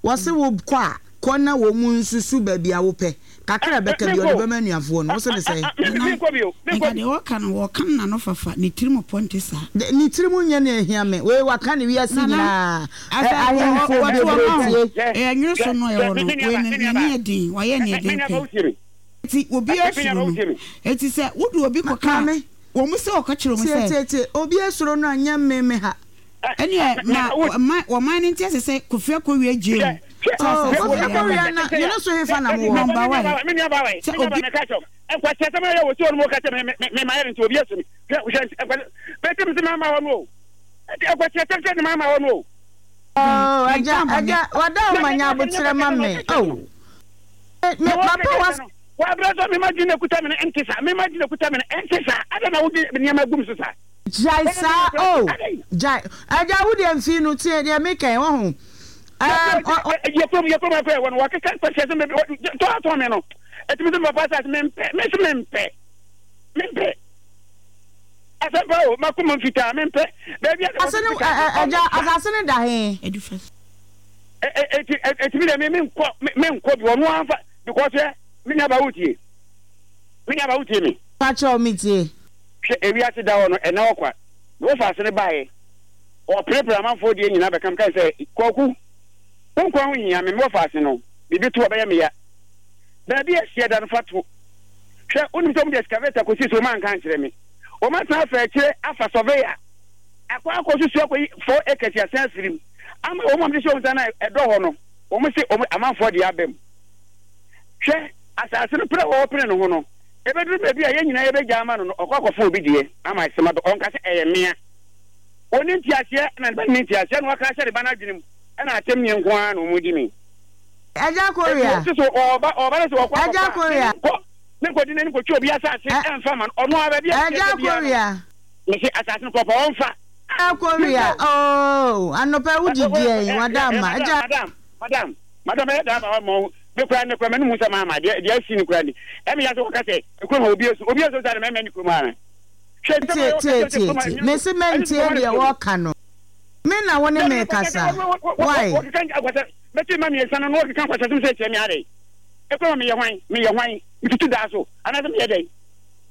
Speaker 1: wɔse wo kɔ a kɔ na wɔn nsusu baabi a wopɛ kakra a ɛbɛka bi ɔde bɛma anuafoɔ no wose ne sɛn?
Speaker 4: Nana, nka deɛ ɔka no wɔka no n'ano fafa, ne tirim pɔ nte saa.
Speaker 1: Ne tirim nyɛ nea ehia me wei waka ne wiase
Speaker 4: Nana,
Speaker 1: nyinaa ɛ
Speaker 4: asɛ
Speaker 1: ahemfo
Speaker 4: wɔto
Speaker 1: bebree
Speaker 4: ɔma o,
Speaker 1: tie.
Speaker 4: ɛyɛ nwene so no ɛwɔ no, wei no n'ani yɛ den, wayɛ nea ɛden pɛ. Eti obiara suro no, eti sɛ wode obi
Speaker 1: Ma
Speaker 4: kɔka a,
Speaker 1: maame,
Speaker 4: wɔn sɛ ɔka kyerɛ wɔn
Speaker 1: tie
Speaker 4: sɛ.
Speaker 1: tie tie obi asuro no a nyɛ me me ha.
Speaker 4: Ɛneɛ ma ɔman ɔman no nte ase sɛ Kofi Akowia gyee mu sɛ
Speaker 1: Oh,
Speaker 4: asase
Speaker 1: Kofi
Speaker 4: wɔ yɛn
Speaker 1: Akowia na
Speaker 4: ama.
Speaker 1: ne no so hefa na mowɔ?
Speaker 4: Number one, sɛ obi.
Speaker 1: Oh,
Speaker 4: Menka
Speaker 1: agya,
Speaker 4: bɔne.
Speaker 1: agya, wada wo ma nya aboterɛ ma me. Oh, me, me, papa was. Gyae saa, oh, gyae. Agya, wo deɛ mfii no, tie deɛ meka yi, wahu. Um, ɔ, ɔ, asase no, ɛ, ɛ, agya, asase no da he?
Speaker 4: Adufa so.
Speaker 5: Eti eti mi deɛ mi mi nkɔ mi nkɔ bi ɔno anfa because ɛ mi nua ba wotie mi nua ba wotie mi.
Speaker 1: Pakyɛw, metie.
Speaker 5: Hwɛ ewiase da hɔ no ɛna hɔ kwa na wofa ase no baeɛ ɔpirepire amanfoɔ deɛ nyinaa bɛka meka sɛ kwaku wo nkwa ho hia me mewɔ faase no biribi to ɔbɛyɛ me ya baabi a ɛhyeɛ da no fa to hwɛ wonim sɛ wɔde excavator kɔsi so wɔn anka ankyerɛ me wɔn asan afa akyire afa surveyor akɔ akɔ susu akɔyi four acres asan afiri mu ama wɔn a wɔde hyɛ wɔn nsa no a ɛdɔ hɔ no wɔn se wɔn amanfoɔ deɛ aba mu hwɛ asase no pere a wɔpere ne ho no ebeduru baabi a yɛn nyinaa yɛbɛgya ama no no ɔkɔ akɔfa obi deɛ ama asɛm abɛ ɔnka sɛ ɛyɛ mmea wɔn ntiaseɛ na ne ba ne ntiaseɛ na waka ahyɛ ne ba no adwene mu ɛna atɛm nie nko ara na wɔn di mi.
Speaker 1: Agya
Speaker 5: Eti
Speaker 1: Korea,
Speaker 5: wɔsi so ɔba ɔba no sɛ ɔkɔ
Speaker 1: Agya
Speaker 5: akɔfa a
Speaker 1: Korea,
Speaker 5: me nkɔ me nkɔ di n'anim kɔtwa obi asase
Speaker 1: ɛ,
Speaker 5: ɛnfa ma no ɔno ara baabi a
Speaker 1: Agya
Speaker 5: ɛteɛ biara no
Speaker 1: Korea.
Speaker 5: mesi asase no kɔpɔ ɔnfa
Speaker 1: Agya Korea,
Speaker 5: mempɛ o.
Speaker 1: oh, anɔpa wo
Speaker 5: Ɛ ɛ
Speaker 1: didi ɛn,
Speaker 5: ɛ
Speaker 1: wada
Speaker 5: ɛ
Speaker 1: ama.
Speaker 5: madam
Speaker 1: Agya.
Speaker 5: madam madam madam ɛyɛ daa ba hɔ ma ɔhu me kura ne kura m'anum sɛ maama deɛ deɛ asi ne kura ni ɛmi yɛ sɛ wɔka sɛ ekurom ha obi esu obi esu sɛ mɛmɛ ne kurom ha hwɛ nsɛm a
Speaker 1: Tie,
Speaker 5: wɔka
Speaker 1: tie,
Speaker 5: kyerɛ sɛ
Speaker 1: tie,
Speaker 5: kurom ha
Speaker 1: tie.
Speaker 5: ɛnyɛ so
Speaker 1: Mese
Speaker 5: ɛnyɛ sɛ
Speaker 1: mɛntie
Speaker 5: kurom ha ne
Speaker 1: deɛ
Speaker 5: kurom
Speaker 1: wɔka no. Me na wo ne
Speaker 5: dabi
Speaker 1: me
Speaker 5: mekɔ sɛ
Speaker 1: kasa. Why?
Speaker 5: wɔkeka nkwasɛ mɛte ma mmiɛnsa no na wɔkeka nkwasɛsɛm sɛ kyerɛ me adɛn ɛkura ma meyɛ hwan meyɛ hwan metutu daa so anaasɛ meyɛ dɛn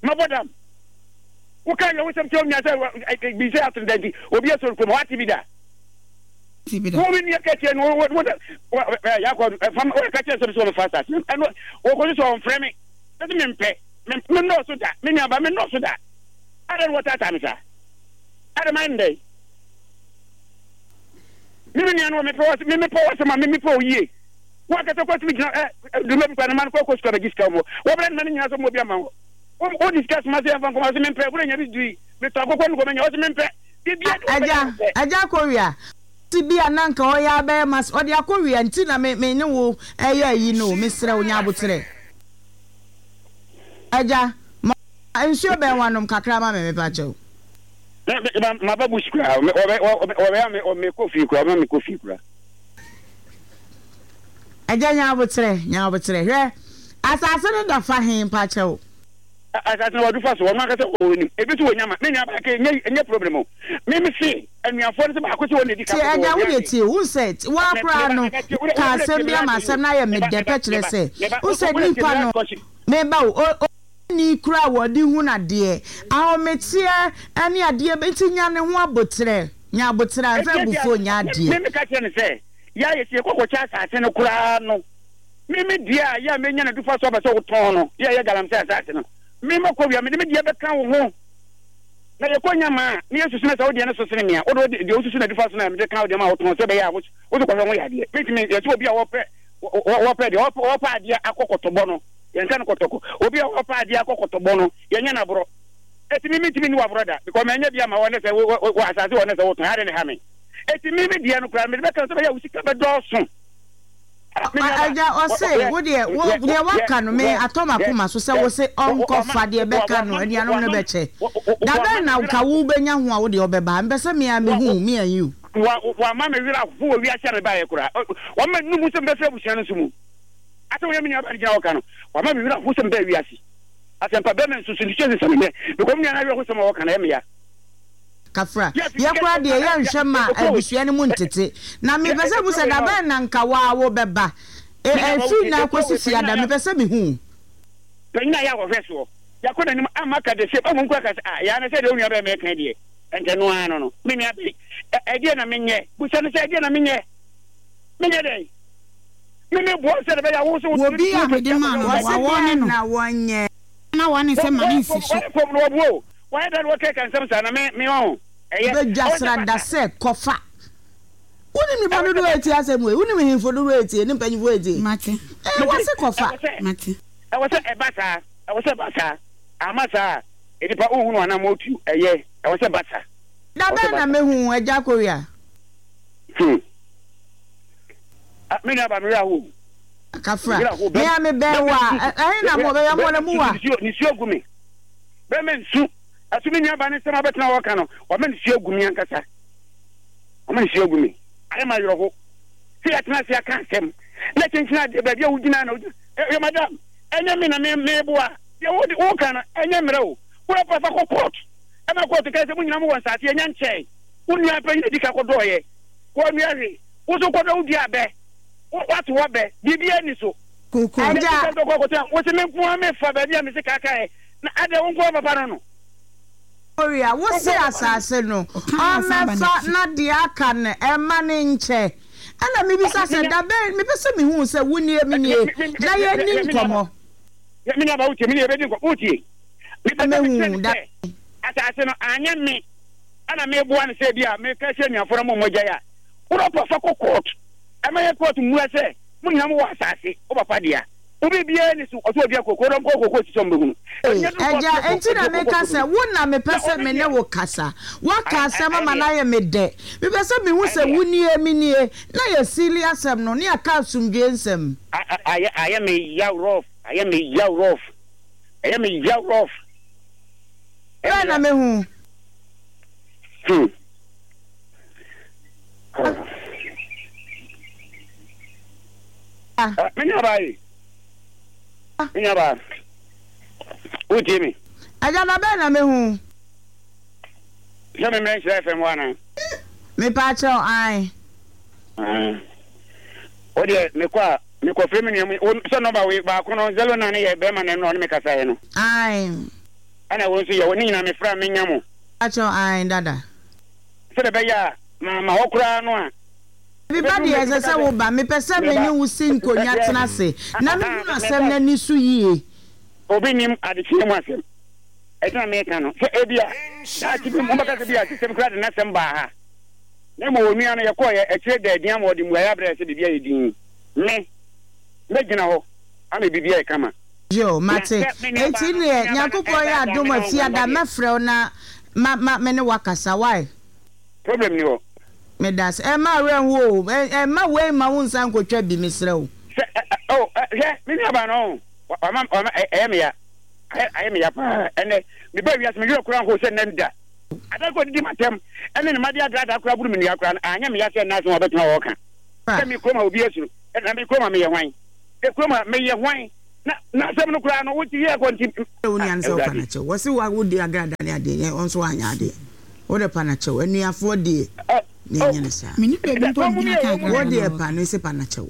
Speaker 5: mabɔ dam woka yɛ wo sɛm kyerɛ wo nua sɛ bi sɛ ato no da nti obi asɔre kurom wate bi da
Speaker 4: Ti bi da.
Speaker 5: wo me nua ka kyerɛ no wo wo yakɔ fam wo ka kyerɛ sɛ sɛ wɔmfa asase ɛno wɔkɔ so sɛ ɔmfrɛ me sɛ mempɛ me nnɔɔso da me nuaba me nnɔɔso da adɛn wɔtaataa me saa adɛn mayɛ no dɛn me me nua no mepɛ wɔ me mepɛ wɔ sɛm a me mepɛ wɔ yie wo akasa kɔ tumi gyina ɛ duma bi kɔ ne ma no kɔ kɔ sukuu abɛgye sika wɔ wɔbrɛ ne ma no nyinaa sɛ mo obi ama wɔ wo de sika soma sɛ yɛmfa nkɔma sɛ mempɛ wura nya bi dui metɔ akokɔ no kɔmanya wɔ sɛ mempɛ biribiara de wɔbɛyɛ
Speaker 1: Agya,
Speaker 5: mempɛ
Speaker 1: Agya Korea, ti bi a na nka ɔyɛ abɛyɛ mas ɔde akɔwia nti na me me ne wo ɛyɛ ayi no o, mesrɛ wo nya aboterɛ. Agya, ma Nsuo bɛn wanom kakra ma me mepa kyɛw.
Speaker 5: Maba bush koraa ɔbɛyɛ me mekɔ fie koraa ɔbɛma mekɔ fie koraa.
Speaker 1: Agya nya aboterɛ nya aboterɛ hwɛ asase no da fa he mpa kyɛw.
Speaker 5: Asase no wadu fa so ɔno ankasa wɔ nim ebi so wɔ nyama me nua ba ke nye nye problem o me me se anuafoɔ no sɛ baako sɛ wɔn na edi ka
Speaker 1: Tie agya wo deɛ tie wo sɛ waa koraa no ka asɛm bi ama asɛm no ayɛ me dɛ pɛ kyerɛ sɛ wo sɛ nipa no meba o ni kura a wɔde hu nadeɛ ahometeɛ ne adeɛ nti nya ne ho aboterɛ nya aboterɛ mfa abufuo nya adeɛ.
Speaker 5: Me meka kyerɛ no sɛ yɛ a yɛsi yɛkɔ kɔkyɛ asase no koraa no me me deɛ a yɛ a menya no dufa so aba sɛ wotɔn no yɛ a yɛ galamsey asase no me makɔ wia mede me deɛ bɛka wo ho na yɛkɔ nya maa ne yɛsusu no sɛ wo deɛ no so sene me a wode deɛ wosusu no adufa so no a mede ka wo deɛ ma wotɔn sɛ ɛbɛyɛ a wode kɔhwɛ ho yɛ adeɛ mentumi yɛsɛ obi a wɔpɛ wɔpɛ deɛ wɔpɛ adeɛ akɔ kɔtɔbɔ no yɛnka no kɔtɔkɔ obi a wɔpɛ adeɛ akɔ kɔtɔbɔ no yɛnyɛ no aborɔ ɛti me mentumi nni waborɔ da because manya bi ama wɔ ne sɛ wɔ asase wɔ ne sɛ wotɔn ade ne ha me ɛti me me deɛ no koraa mede bɛka sɛ bɛyɛ wo sika bɛdɔɔso.
Speaker 1: Agya ɔse wo deɛ wo deɛ waka no me atɔ m'akoma so sɛ wo se ɔnkɔfa deɛ bɛka no anuanom no bɛkyɛ da bɛn na nka wo bɛnya ho a wo deɛ ɔbɛba mpɛ sɛ me a mehu me and you.
Speaker 5: Wama me werɛ aho wɔ wiase a mebaeɛ koraa wama num sɛ mebɛfiri abusua no nso mu asɛ woyɛ me nuabaa no gyina hɔ ka no wama me werɛ aho sɛ mebɛɛ wiase asɛmpa bɛma nsusu nsusu sesa me nnɛ because me nua no awerɛho sɛm a wɔka no ɛyɛ me ya.
Speaker 1: Kafra, yɛ koraa deɛ yɛ nhwɛ ma abusua no mu ntete. Na me pɛ sɛ mu sɛ da bɛn na nka waa wo bɛ ba. E ɛfiri nnɛ akɔsi fiada me pɛ sɛ me hu wo.
Speaker 5: Panyin a yɛ a wɔhwɛ soɔ. Yɛakɔ n'anim ama aka the same mmom koraa ka sɛ ah yaa na sɛ deɛ wo nua bɛɛ mɛka deɛ ɛnka ɛno ara no no me nua bɛyi ɛ ɛdeɛ na menyɛ busa no sɛ ɛdeɛ na menyɛ menyɛ dɛn me me boa sɛ ɛbɛyɛ a wo nso
Speaker 4: Wɔ bi a mede maa no no,
Speaker 1: Wɔse
Speaker 4: wawɔ ne
Speaker 1: deɛn
Speaker 4: no.
Speaker 1: na wɔnyɛ.
Speaker 4: Na wɔne sɛ ma ne nsi so.
Speaker 5: Wɔyɛ fam no wɔboa o wɔayɛ dɛn na wɔkeka nsɛm saa na me me ɔho ɛyɛ
Speaker 1: Badwa
Speaker 5: ɛwɔ sɛ
Speaker 1: srada
Speaker 5: bata
Speaker 1: sɛ kɔfa. Wonim nnipa
Speaker 5: ɛwɔ sɛ
Speaker 1: dodoɔ a
Speaker 5: bata
Speaker 1: ɛtie asɛm wei? Wonim nhemfo dodoɔ a ɛtie ne mpanyimfoɔ a ɛtie?
Speaker 4: Mate.
Speaker 1: Ee,
Speaker 5: mese
Speaker 1: wɔse kɔfa.
Speaker 5: ɛwɔ sɛ
Speaker 4: Mate.
Speaker 5: ɛwɔ sɛ ɛba saa ɛwɔ sɛ ɛba saa ama saa a nnipa wohunu anammɔn tu ɛyɛ ɛwɔ sɛ ɛba saa
Speaker 1: Da
Speaker 5: ɛwɔ sɛ
Speaker 1: bɛn
Speaker 5: ɛba
Speaker 1: na
Speaker 5: saa
Speaker 1: mɛhu wo, Agya Korea?
Speaker 5: hmm ah me nua ba me werɛ ahow me
Speaker 1: Kafra.
Speaker 5: werɛ ahow
Speaker 1: Me
Speaker 5: bɛm
Speaker 1: a mebɛn wo
Speaker 5: bɛma
Speaker 1: a,
Speaker 5: nsu
Speaker 1: ɛ- ɛhe na mowɔ?
Speaker 5: bɛ
Speaker 1: Baabi a mowɔ no,
Speaker 5: bɛma nsu
Speaker 1: mowɔ a?
Speaker 5: nisuo nisuo gu me bɛma nsu ɛso me nua ba ne nsɛm abɛtena hɔ ka no wɔma nisuo agu me ankasa wɔma nisuo agu me ayɛ ma awerɛho sɛ yɛatena ase aka asɛm na kyenkyena adeɛ baabi a wogyina na wogyina ɛ madam ɛnyɛ me na me meboa deɛ wode woka no ɛnyɛ mmerɛ o wura fa kɔ court ɛma court ka sɛ mo nyina mowɔ nsase ɛnya nkyɛe wo nua panyin adi ka kɔdɔɔyɛ wɔnnua hwee wo so kɔdɔ wo dua abɛ woato wɔ bɛ biribiara ni so
Speaker 4: Koko.
Speaker 1: Agya.
Speaker 5: wo se me nko ara mefa baabi a mese kaakaeɛ na adɛ wo nko ara papa no no
Speaker 1: Korea, wo
Speaker 5: wo
Speaker 1: se
Speaker 5: nko ara papa no
Speaker 1: asase no,
Speaker 4: Ɔka na ɔsan ba
Speaker 1: ɔmmɛfa
Speaker 4: n'akyi.
Speaker 1: na deɛ aka no ɛmma no nkyɛ. Ɛna mebisa sɛ, da bɛn, mepɛ sɛ mehu sɛ wo nie, me nie, na yɛnni nkɔmmɔ.
Speaker 5: Me nua ba wotie me ne yɛbɛdi nkɔmmɔ wotie mepɛ sɛ
Speaker 1: Mehu
Speaker 5: mekyerɛ no
Speaker 1: da.
Speaker 5: sɛ asase no anyɛ me ɛna meboa no sɛ bi a meka kyerɛ anuafoɔ no mo mmɔgyae a wodɔ fa kɔ court ɛma yɛ court mmua sɛ mo nyinaa mowɔ asase wo papa dea wo biribiara ni so ɔsɛ ɔdua koko dɔm kɔ koko sisi ɔmo bɛhunu
Speaker 1: Ee, Agya, enti na meka sɛ wo na mepɛ sɛ me ne wo kasa. Woaka asɛm ama no ayɛ me dɛ. Mepɛ sɛ mehu sɛ wo nie, me nie, na yɛasiili asɛm no, na yɛaka asomdwoeɛ nsɛm.
Speaker 5: Ayɛ ayɛ me yaw rough ayɛ me yaw rough ɛyɛ me yaw rough
Speaker 1: Bɛn na mehu?
Speaker 5: Hmm.
Speaker 1: Ah.
Speaker 5: Me nua baa yi. Me nua baa. Wotie me?
Speaker 1: Agya, da bɛn na mehu?
Speaker 5: Sɛ me mmerɛ nhyira F M hɔ anaa?
Speaker 1: Mepa kyɛw, ae.
Speaker 5: Wo deɛ mekɔ a mekɔfrɛ me nua mu sɛ nɔmba wei baako no zero nine yɛ bɛrima na ɛno ɔne me kasaeɛ no.
Speaker 1: Ae.
Speaker 5: Ɛna wo nso yɛ wo ne nyinaa mefrɛ a menya mo.
Speaker 1: Mepa kyɛw, ae dada.
Speaker 5: Sɛdeɛ ɛbɛyɛ a ma ma hɔ koraa no a.
Speaker 1: Meba deɛ ɛsɛ sɛ wo ba. Mepɛ sɛ me ne wo si nkonnwa tena ase na mehunu asɛm no ani so yie.
Speaker 5: Obi nim adekyeɛ mu asɛm. Ɛti na meka no sɛ ebia daakye bi mobɛka sɛ bi a sisɛm koraa de n'asɛm baa ha. Na mmom onua no yɛkɔɔyɛ akyire da adi ama ɔde mmuaeɛ abrɛ sɛ biribi ayɛ dinn. Me, mɛgyina hɔ ama biribi ayɛ kama.
Speaker 1: Yo,
Speaker 5: Na
Speaker 1: mate.
Speaker 5: sɛ me nuabaa
Speaker 1: Enti
Speaker 5: no, me
Speaker 1: neɛ,
Speaker 5: nuabaa no
Speaker 1: Nyankopɔn yɛ
Speaker 5: ɛredaadaa me
Speaker 1: adom
Speaker 5: na
Speaker 1: a
Speaker 5: ɔnhu
Speaker 1: fiada
Speaker 5: adeɛ.
Speaker 1: mɛfrɛ wo na ma ma me ne wo akasa, wai?
Speaker 5: Problem ni hɔ.
Speaker 1: Medase. Ɛmma awerɛ nho o. Ɛmma wei mma wo nsa nkotwa bi, mesrɛ wo.
Speaker 5: Sɛ, ɛ, ɛ, oh, ɛ, hwɛ, me nuabaa no, ɔho, wama, wama, ɛ, ɛyɛ me ya. Ayɛ me ya paa. Ɛnɛ meba wiase me werɛ koraa nho sɛ nnɛ da. Ada kɔ didi matam ɛne ne made adraadaa koraa buru me nua koraa no anyɛ me ya sɛ nnɛ asɛm a ɔbɛtena hɔ ɔka sɛ me kurom a obi asuro na me kurom a meyɛ hwan me kurom a meyɛ hwan na na asɛm no koraa no wote yɛ kɔ nti
Speaker 1: Wo nua no sɛ wopa no kyɛw wɔse wa wodi agradaa ne adeɛ yɛ ɔnso wanyɛ adeɛ wode pa no kyɛw anuafoɔ deɛ ne ɛnyɛ no saa
Speaker 4: Menni baabi mpo a megyina ka
Speaker 1: wo
Speaker 4: agradaa no
Speaker 1: deɛ
Speaker 4: wɔ.
Speaker 1: pa no se pa no kyɛw.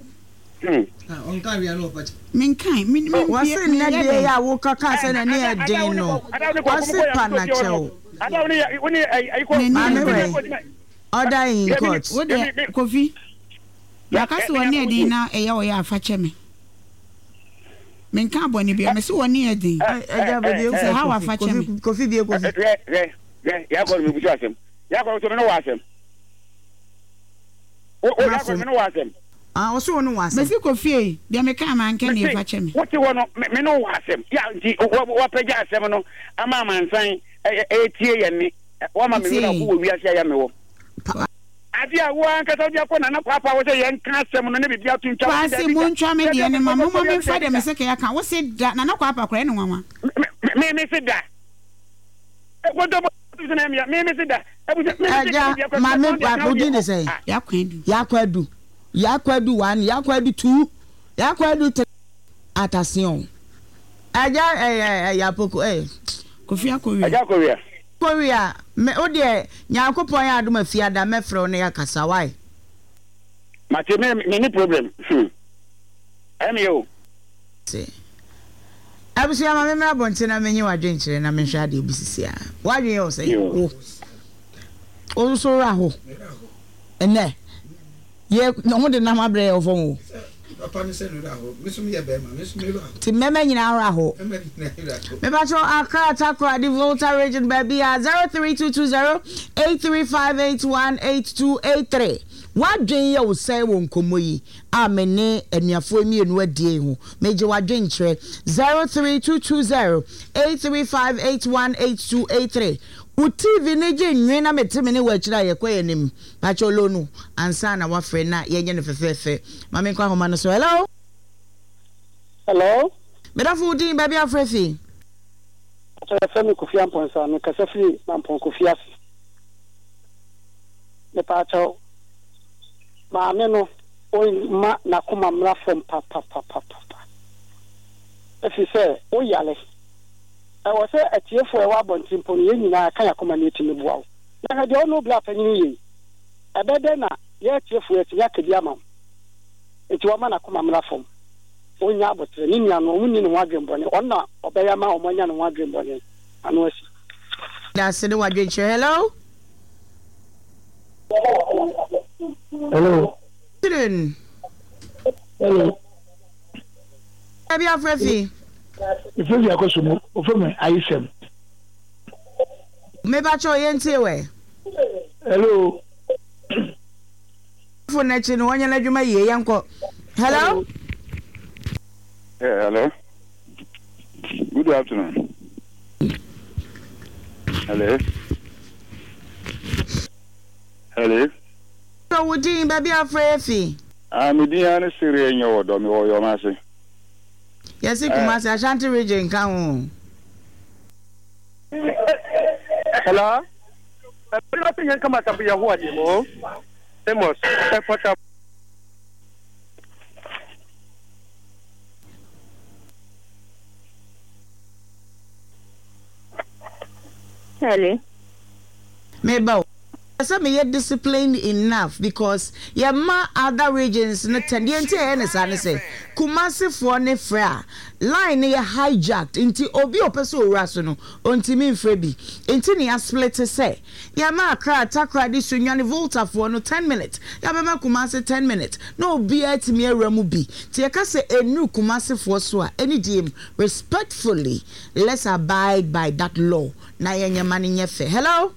Speaker 4: Menkae, me, me,
Speaker 1: Wɔse nnɛ
Speaker 4: meyɛ
Speaker 1: deɛ
Speaker 4: dɛn?
Speaker 1: yɛ a woka kaa sɛ n'ani yɛ den no wɔse pa no kyɛw.
Speaker 4: N'ani
Speaker 1: Maame
Speaker 4: yɛ den.
Speaker 1: wɛ order in court.
Speaker 4: Wo deɛ, Kofi, maka sɛ w'ani yɛ den na ɛyɛ wo yɛ a, fa kyɛ me. Menka bɔne biara, mese w'ani yɛ den.
Speaker 1: Ɛgya baabi
Speaker 4: Sɛ ha wafa kyɛ me.
Speaker 1: Kofi Kofi bie Kofi.
Speaker 5: Hwɛ hwɛ hwɛ yakɔ no mebusu asɛm yakɔ so me no wɔ asɛm wo wo yakɔ me no wɔ asɛm.
Speaker 1: Ah ɔso wo no wɔ asɛm.
Speaker 4: Mese Kofi ei, deɛ mekaa manka nie, fa kyɛ me.
Speaker 5: Wote hɔ no me ne wo wɔ asɛm ya nti wapagya asɛm no ama amansan ɛtie yɛn ne wama me werɛ ho wɔ wiase a yɛ mewɔ. Ade a wo ankasa wode akɔ Nana Kwaapa hɔ sɛ yɛnka asɛm no ne biribi ato ntwa wo se
Speaker 4: Kwasi,
Speaker 5: daabi da.
Speaker 4: montwa me
Speaker 5: Dabi
Speaker 4: deɛ
Speaker 5: a
Speaker 4: no ma
Speaker 5: mekɔ
Speaker 4: momma
Speaker 5: kɔ
Speaker 4: memfa
Speaker 5: daabi
Speaker 4: deɛ
Speaker 5: da.
Speaker 4: mese kɛyɛ ka. Wo se da, Nana Kwaapa koraa ɛne nwanwa.
Speaker 5: Me me se da. Nkontompo so na ɛmea me me se da. Abusa me me se
Speaker 1: Ɛgya
Speaker 5: ka deɛ
Speaker 1: maame
Speaker 5: kɔ deɛ
Speaker 1: wo din de sɛn?
Speaker 4: Yakɔ adu.
Speaker 1: Yakɔ adu. Yakɔ adu one, yakɔ adu two, yakɔ adu three. Ataseɔn. Ɛgya ɛyɛ ɛyɛ apoko ɛyɛ.
Speaker 4: Kofi akɔwia.
Speaker 5: Ɛgya akɔwia.
Speaker 1: Kɔwia me wo deɛ Nyankopɔn yɛ adom afiada mɛfrɛ wo na yɛakasa why?
Speaker 5: Mate me me ni problem hmm ɛmeyɛ o.
Speaker 1: Se. Abusua ma me mmra abɔnten na menye w'adwenkyerɛ na menhwɛ adeɛ bi sisi a. W'adwen yɛ wo sɛn? Wo. Wo nso wura ho. Ɛnɛ. Yɛ na ho de nam abrɛ yɛ wɔ fam o.
Speaker 2: Papa no sɛ no wura ho. Me nso meyɛ bɛrima, me nso me wura ho.
Speaker 1: Ti mmɛmɛ nyinaa wura ho. Mepakyɛw Accra, Takoradi, Volta Region baabi a zero three two two zero eight three five eight one eight two eight three. W'adwen yɛ wo sɛn wɔ nkɔmmɔ yi a me ne anuafoɔ mmienu adie yi ho? Megye w'adwenkyerɛ zero three two two zero eight three five eight one eight two eight three. Wo T V no gye nwe na mete me ne wo akyiri a yɛkɔ yɛn anim. Pakyɛw low no ansa na woafrɛ na yɛnyɛ no fɛfɛɛfɛ. Ma menkɔ ahoma no so. Hello?
Speaker 6: Hello?
Speaker 1: Me dɔfo wo din, baabi a wofrɛ fi?
Speaker 6: Pakyɛw yɛfrɛ me Kofi Amponsah, mekasa firi Mampong Kofi ase. Mepaakyɛw, maame no ɔmma n'akoma mmra fam papapapapa. Ɛfiri sɛ woyare. Ɛwɔ sɛ atiefoɔ a ɛwɔ abɔnten mpo no, yɛn nyinaa ka yɛn akoma na yɛtumi boa wo. Na hwɛ deɛ wo ne wo bra panyin yɛ yi. Ɛbɛyɛ dɛn na yɛn atiefoɔ yɛatumi aka bi ama wo? Enti wɔmma n'akoma mmra fam. Ɔnnya aboterɛ. Ne nua no, wɔnni ne ho adwemmɔne. Ɔno na ɔbɛyɛ ama wɔanya ne ho adwemmɔne ano asi.
Speaker 1: Dase ne w'adwenkyerɛ. Hello.
Speaker 6: Hello.
Speaker 1: Afternoon.
Speaker 6: Hello.
Speaker 1: Baabi afrɛ fi.
Speaker 6: Mefrɛ fi akɔso mu. Wɔfrɛ me Ayesɛm.
Speaker 1: Mebakyɛw yɛntie wɛ.
Speaker 6: Hello.
Speaker 1: Fo n'akyi no wɔnyɛ n'adwuma yie yɛnkɔ. Hello.
Speaker 5: Yeah, hello. Good afternoon. Hello. Hello.
Speaker 1: So wo din baabi afrɛ fi.
Speaker 5: Ah, me din ane Sere nyɛ wɔ dɔ me wɔ Yɔmase.
Speaker 1: Yɛsi Kumasi Ashanti region ka ho.
Speaker 7: Hello. Amos,
Speaker 8: Hello.
Speaker 1: Meba sɛ meyɛ disciplined enough because yɛma other regions no ten deɛ nti ɛyɛ ne saa ne sɛ Kumasifoɔ ne frɛ a line no yɛ hijacked nti obi a ɔpɛ sɛ owura so no ɔntumi mfrɛ bi nti ne yɛasplit sɛ yɛma Accra, Takoradi, Sunyani, Voltafoɔ no ten minutes yɛabɛma Kumasi ten minutes na obiara tumi awura mu bi nti yɛka sɛ ɛnuru Kumasifoɔ so a ɛne die mu respectfully let's abide by that law na yɛnyɛ ma no nyɛ fɛ. Hello.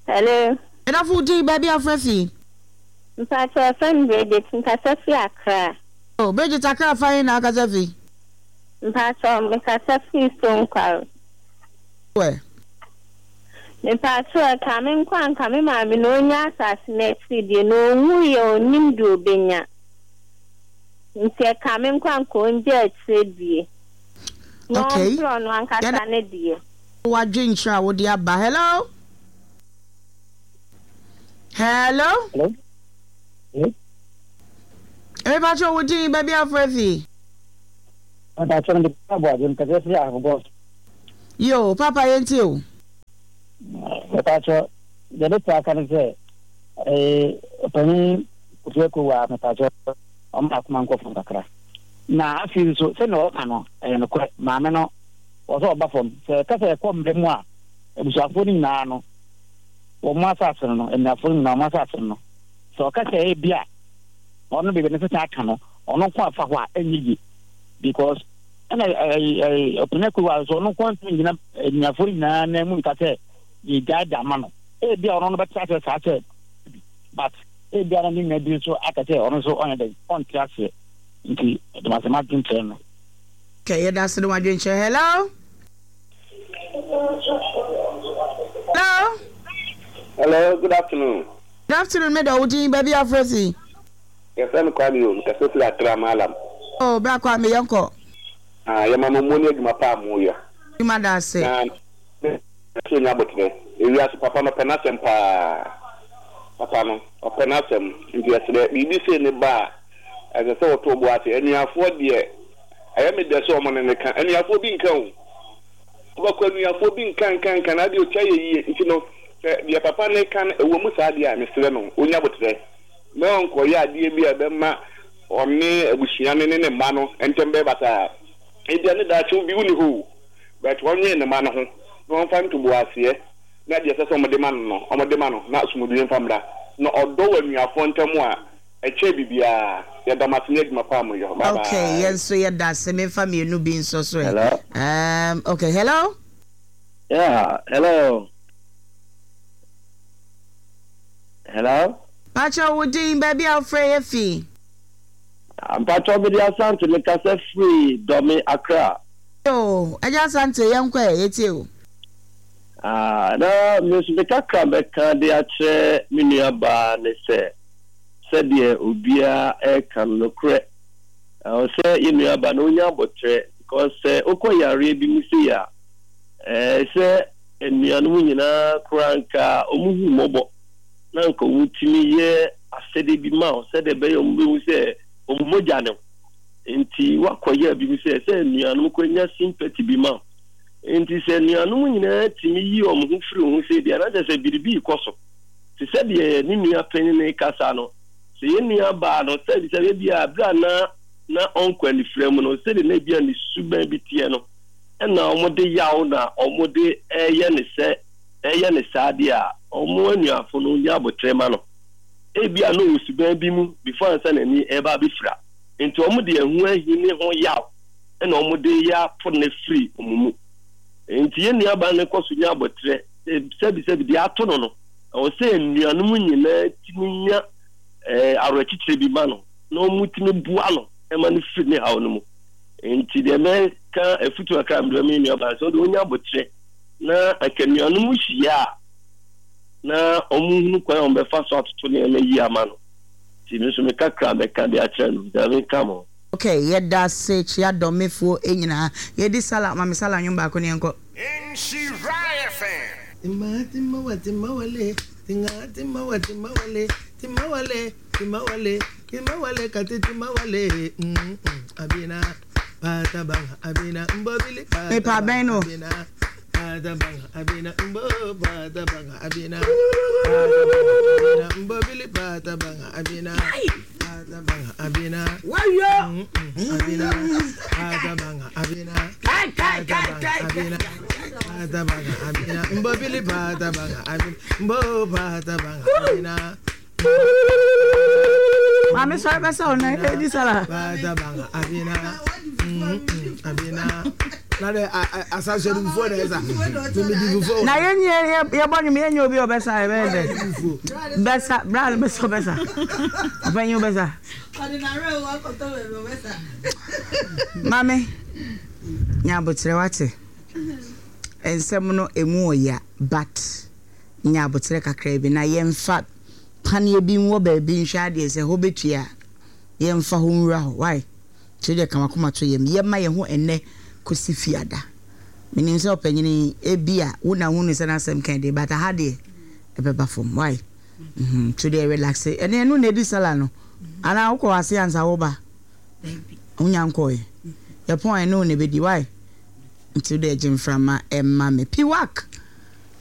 Speaker 8: Hello.
Speaker 1: Medafo din baabi afrɛ fi.
Speaker 8: Mpakyɛ yɛfrɛ me Bridget, mekasa fi Accra.
Speaker 1: Oh, Bridget Accra fa yi na akasa fi.
Speaker 8: Mpakyɛ mekasa fi Stonkware.
Speaker 1: Wɛ.
Speaker 8: Mpakyɛ ka me nkɔ anka me maame na onya asase na akyiri deɛ na onwu yɛ onim deɛ obenya. Nti ɛka me nkɔ anka ongye akyire die. Na
Speaker 1: Okay.
Speaker 8: ɔmpere ɔno ankasa
Speaker 1: Yɛda
Speaker 8: ne deɛ.
Speaker 1: W'adwenkyerɛ a wode aba. Hello? Hello?
Speaker 6: Hello? Hello?
Speaker 1: Mepakyɛ wo din, baabi a wofrɛ fi?
Speaker 6: Mepakyɛ mede Papa Aboagye, mekasa firi Ahafo.
Speaker 1: Yo, Papa, yɛntie o.
Speaker 6: Mepakyɛ, deɛ mɛtumi aka ne sɛ, eh, ɔpanin Kofi Akowa, mepakyɛ, ɔma akoma nkɔ fam kakra. Na afei nso, sɛnea ɔka no, ɛyɛ nokorɛ, maame no, wɔ sɛ ɔba fam. Sɛ ɛka sɛ ɛkɔ mmerɛ mu a, abusuafoɔ no nyinaa no, wɔn asase no no, anuafoɔ no nyinaa wɔn asase no no, sɛ ɔka sɛ ebi a, ɔno baabi ne sesa aka no, ɔno nko afa hɔ a, ɛnyɛ yie. Because ɛna ɛyi ɛyi ɔpanin Akowa nso, ɔno nko ntumi ngyina anuafoɔ no nyinaa nan mu nka sɛ yɛgyae de ama no. Ebi a ɔno no bɛte aseɛ saa sɛ, but ebi a na ne nua bi nso aka sɛ ɔno nso ɔnyɛ dɛn, ɔnte aseɛ. Nti ɛdɛm asɛm adwenkyerɛ no.
Speaker 1: Okay, yɛda ase ne w'adwenkyerɛ. Hello? Hello?
Speaker 7: Hello, good afternoon.
Speaker 1: Good afternoon, me dɔ, wo din, baabi a wofrɛ fi?
Speaker 7: Yɛfrɛ me Kwame o, mekasa firi Accra Mallam.
Speaker 1: Oh, bra Kwame, yɛnkɔ.
Speaker 7: Ah, yɛma mo mo ne adwuma pa a moyɛ.
Speaker 1: Adwuma da ase.
Speaker 7: Na me sɛ onya aboterɛ. Ewiase papa no ɔpɛ n'asɛm paa. Papa no, ɔpɛ n'asɛm. Nti yɛsrɛ, biribi sei ne ba a, ɛsɛ sɛ wɔto wo bo ase. Anuafoɔ deɛ, ɛyɛ me dɛ sɛ wɔn ne no ka. Anuafoɔ bi nka o. Wobɛkɔ anuafoɔ bi nka nka nka na adeɛ ɔtwa yɛ yie. Nti no, sɛ deɛ papa no reka no, ɛwɔ mu saa deɛ a, mesrɛ no, ɔnya aboterɛ. Na ɔnkɔyɛ adeɛ bi a ɛbɛma ɔne abusua no ne ne mma no ntɛm bɛyɛ basaa. Ebia ne daakye obi wonni hɔ o, but ɔnnwen ne mma no ho na ɔmfa ntoboaseɛ na deɛ ɛsɛ sɛ wɔde ma no no, wɔde ma no na asomdwoeɛ mfa mmra. Na ɔdɔ wɔ anuafoɔ ntam a, ɛkyɛn biribiara. Yɛda mo ase ne adwuma pa a moyɔ. Bye
Speaker 1: Okay,
Speaker 7: bye.
Speaker 1: yɛn nso yɛda ase. Memfa mmienu bi nso so ɛ.
Speaker 9: Hello.
Speaker 1: Um, okay, hello?
Speaker 9: Yeah, hello. Hello.
Speaker 1: Pakyɛ wo din, baabi a wofrɛ yɛ fi?
Speaker 9: Mpakyɛ mede Asante, mekasa firi Dɔme, Accra.
Speaker 1: Yo, Agya Asante, yɛnkɔ ɛ, yɛtie o.
Speaker 9: Ah, na me nso me kakra mɛka de akyerɛ me nua baa ne sɛ, sɛdeɛ obiara ɛreka no, nokorɛ, ɛwɔ sɛ yɛn nua baa no onya abotrɛ, because sɛ wokɔ yareɛ bi mu sei a, ɛɛ sɛ anuanom nyinaa koraa nka wɔn hu mmɔbɔ na nka wɔn tumi yɛ asɛdeɛ bi ma wo sɛdeɛ ɛbɛyɛ wɔn bɛhu sɛ wɔn mogya ne wo. Nti wakɔyɛ bi mu sɛ sɛ anuanom kɔ nya sympathy bi ma wo. Nti sɛ anuanom nyinaa tumi yi wɔn ho firi ho sɛ deɛ, na kyerɛ sɛ biribi rekɔ so. Te sɛ deɛ ne nua panyin no rekasa no, sɛ yɛn nua baa no, sɛ sɛ ebi a bere a na na ɔnkɔ anifira mu no, sɛdeɛ na ebi a ne suban bi teɛ no, ɛna wɔde yaw na wɔde ɛyɛ ne sɛ ɛyɛ ne saa deɛ a, wɔn anuafo no nya abotrɛ ma no. Ebi a na ɔwɔ suban bi mu before ansa n'ani ɛreba abɛfira. Nti wɔn de ɛho ahi ne ho yaw ɛna wɔn de yɛ apo ne firi wɔn mu. Nti yɛn nua baa no kɔ so nya abotrɛ, sɛbi sɛbi deɛ ato no no, ɛwɔ sɛ nnuanom nyinaa tumi nya ɛɛ awerɛkyekyerɛ bi ma no na wɔn tumi boa no ɛma no firi ne haw no mu. Nti deɛ mɛka afutu akra mmerɛ mi nua baa sɛ ɔde onya abotrɛ na anka nnuanom hyia a na wɔn hunu kwan a wɔn bɛfa so atoto nneɛma yie ama no. Nti mi nso mi kakra mɛka de akyerɛ no, Nyame nka mo.
Speaker 1: Okay, yɛda ase, kyia dɔmefoɔ nyinaa. Yɛdi sala, ma me sala nwom baako ne yɛnkɔ.
Speaker 10: Nhyira F M.
Speaker 3: Timba timba timba wale tinga timba timba wale timba wale timba wale timba wale kati timba wale mm mm abina pata banga abina mbobili pata
Speaker 1: Mepa bɛn no.
Speaker 3: abina pata banga abina mbo pata banga abina pata banga abina mbobili pata banga abina pata banga abina
Speaker 1: Wayo!
Speaker 3: mm mm abina pata banga abina
Speaker 1: Kai, kai,
Speaker 3: pata
Speaker 1: kai,
Speaker 3: banga
Speaker 1: kai,
Speaker 3: abina
Speaker 1: kai.
Speaker 3: pata banga abina mbobili pata banga abina mbo pata banga abina
Speaker 1: Maame sɔre bɛsɛ wo nan, yɛdi sala.
Speaker 3: Pata banga abina mm mm abina na de asase de fufuo na ɛsa mimi di fufuo.
Speaker 1: Na yɛn yɛ yɛbɔ nwom, yɛnyɛ obi a ɔbɛsa, yɛbɛyɛ dɛ. Bɛsa, bra no bɛsa, ɔbɛsa. Ɔpanyin bɛsa. Maame, nya abotrɛ wate. Nsɛm no emu ɔya, but nya abotrɛ kakra bi na yɛmfa paneɛ bi nwɔ baabi nhwɛ adeɛ sɛ hɔ bɛtua a, yɛmfa hɔ nwura hɔ. Why? Kyerɛ deɛ ka wakoma to yam. Yɛma yɛn ho ɛnnɛ kɔsi Fiada. Menim sɛ ɔpanyini ebia wo na wohunu sɛ n'asɛm ka de, but aha deɛ ɛbɛba fam. Why? Mhm. To deɛ relax. Ɛne ɛno na ɛdi sala no. Anaa wokɔ ase ansa woba? Wonya nkɔɛ. Yɛpɔn ɛne wo na ɛbɛdi. Why? Nti wode agye mframa ɛma me. Piwak!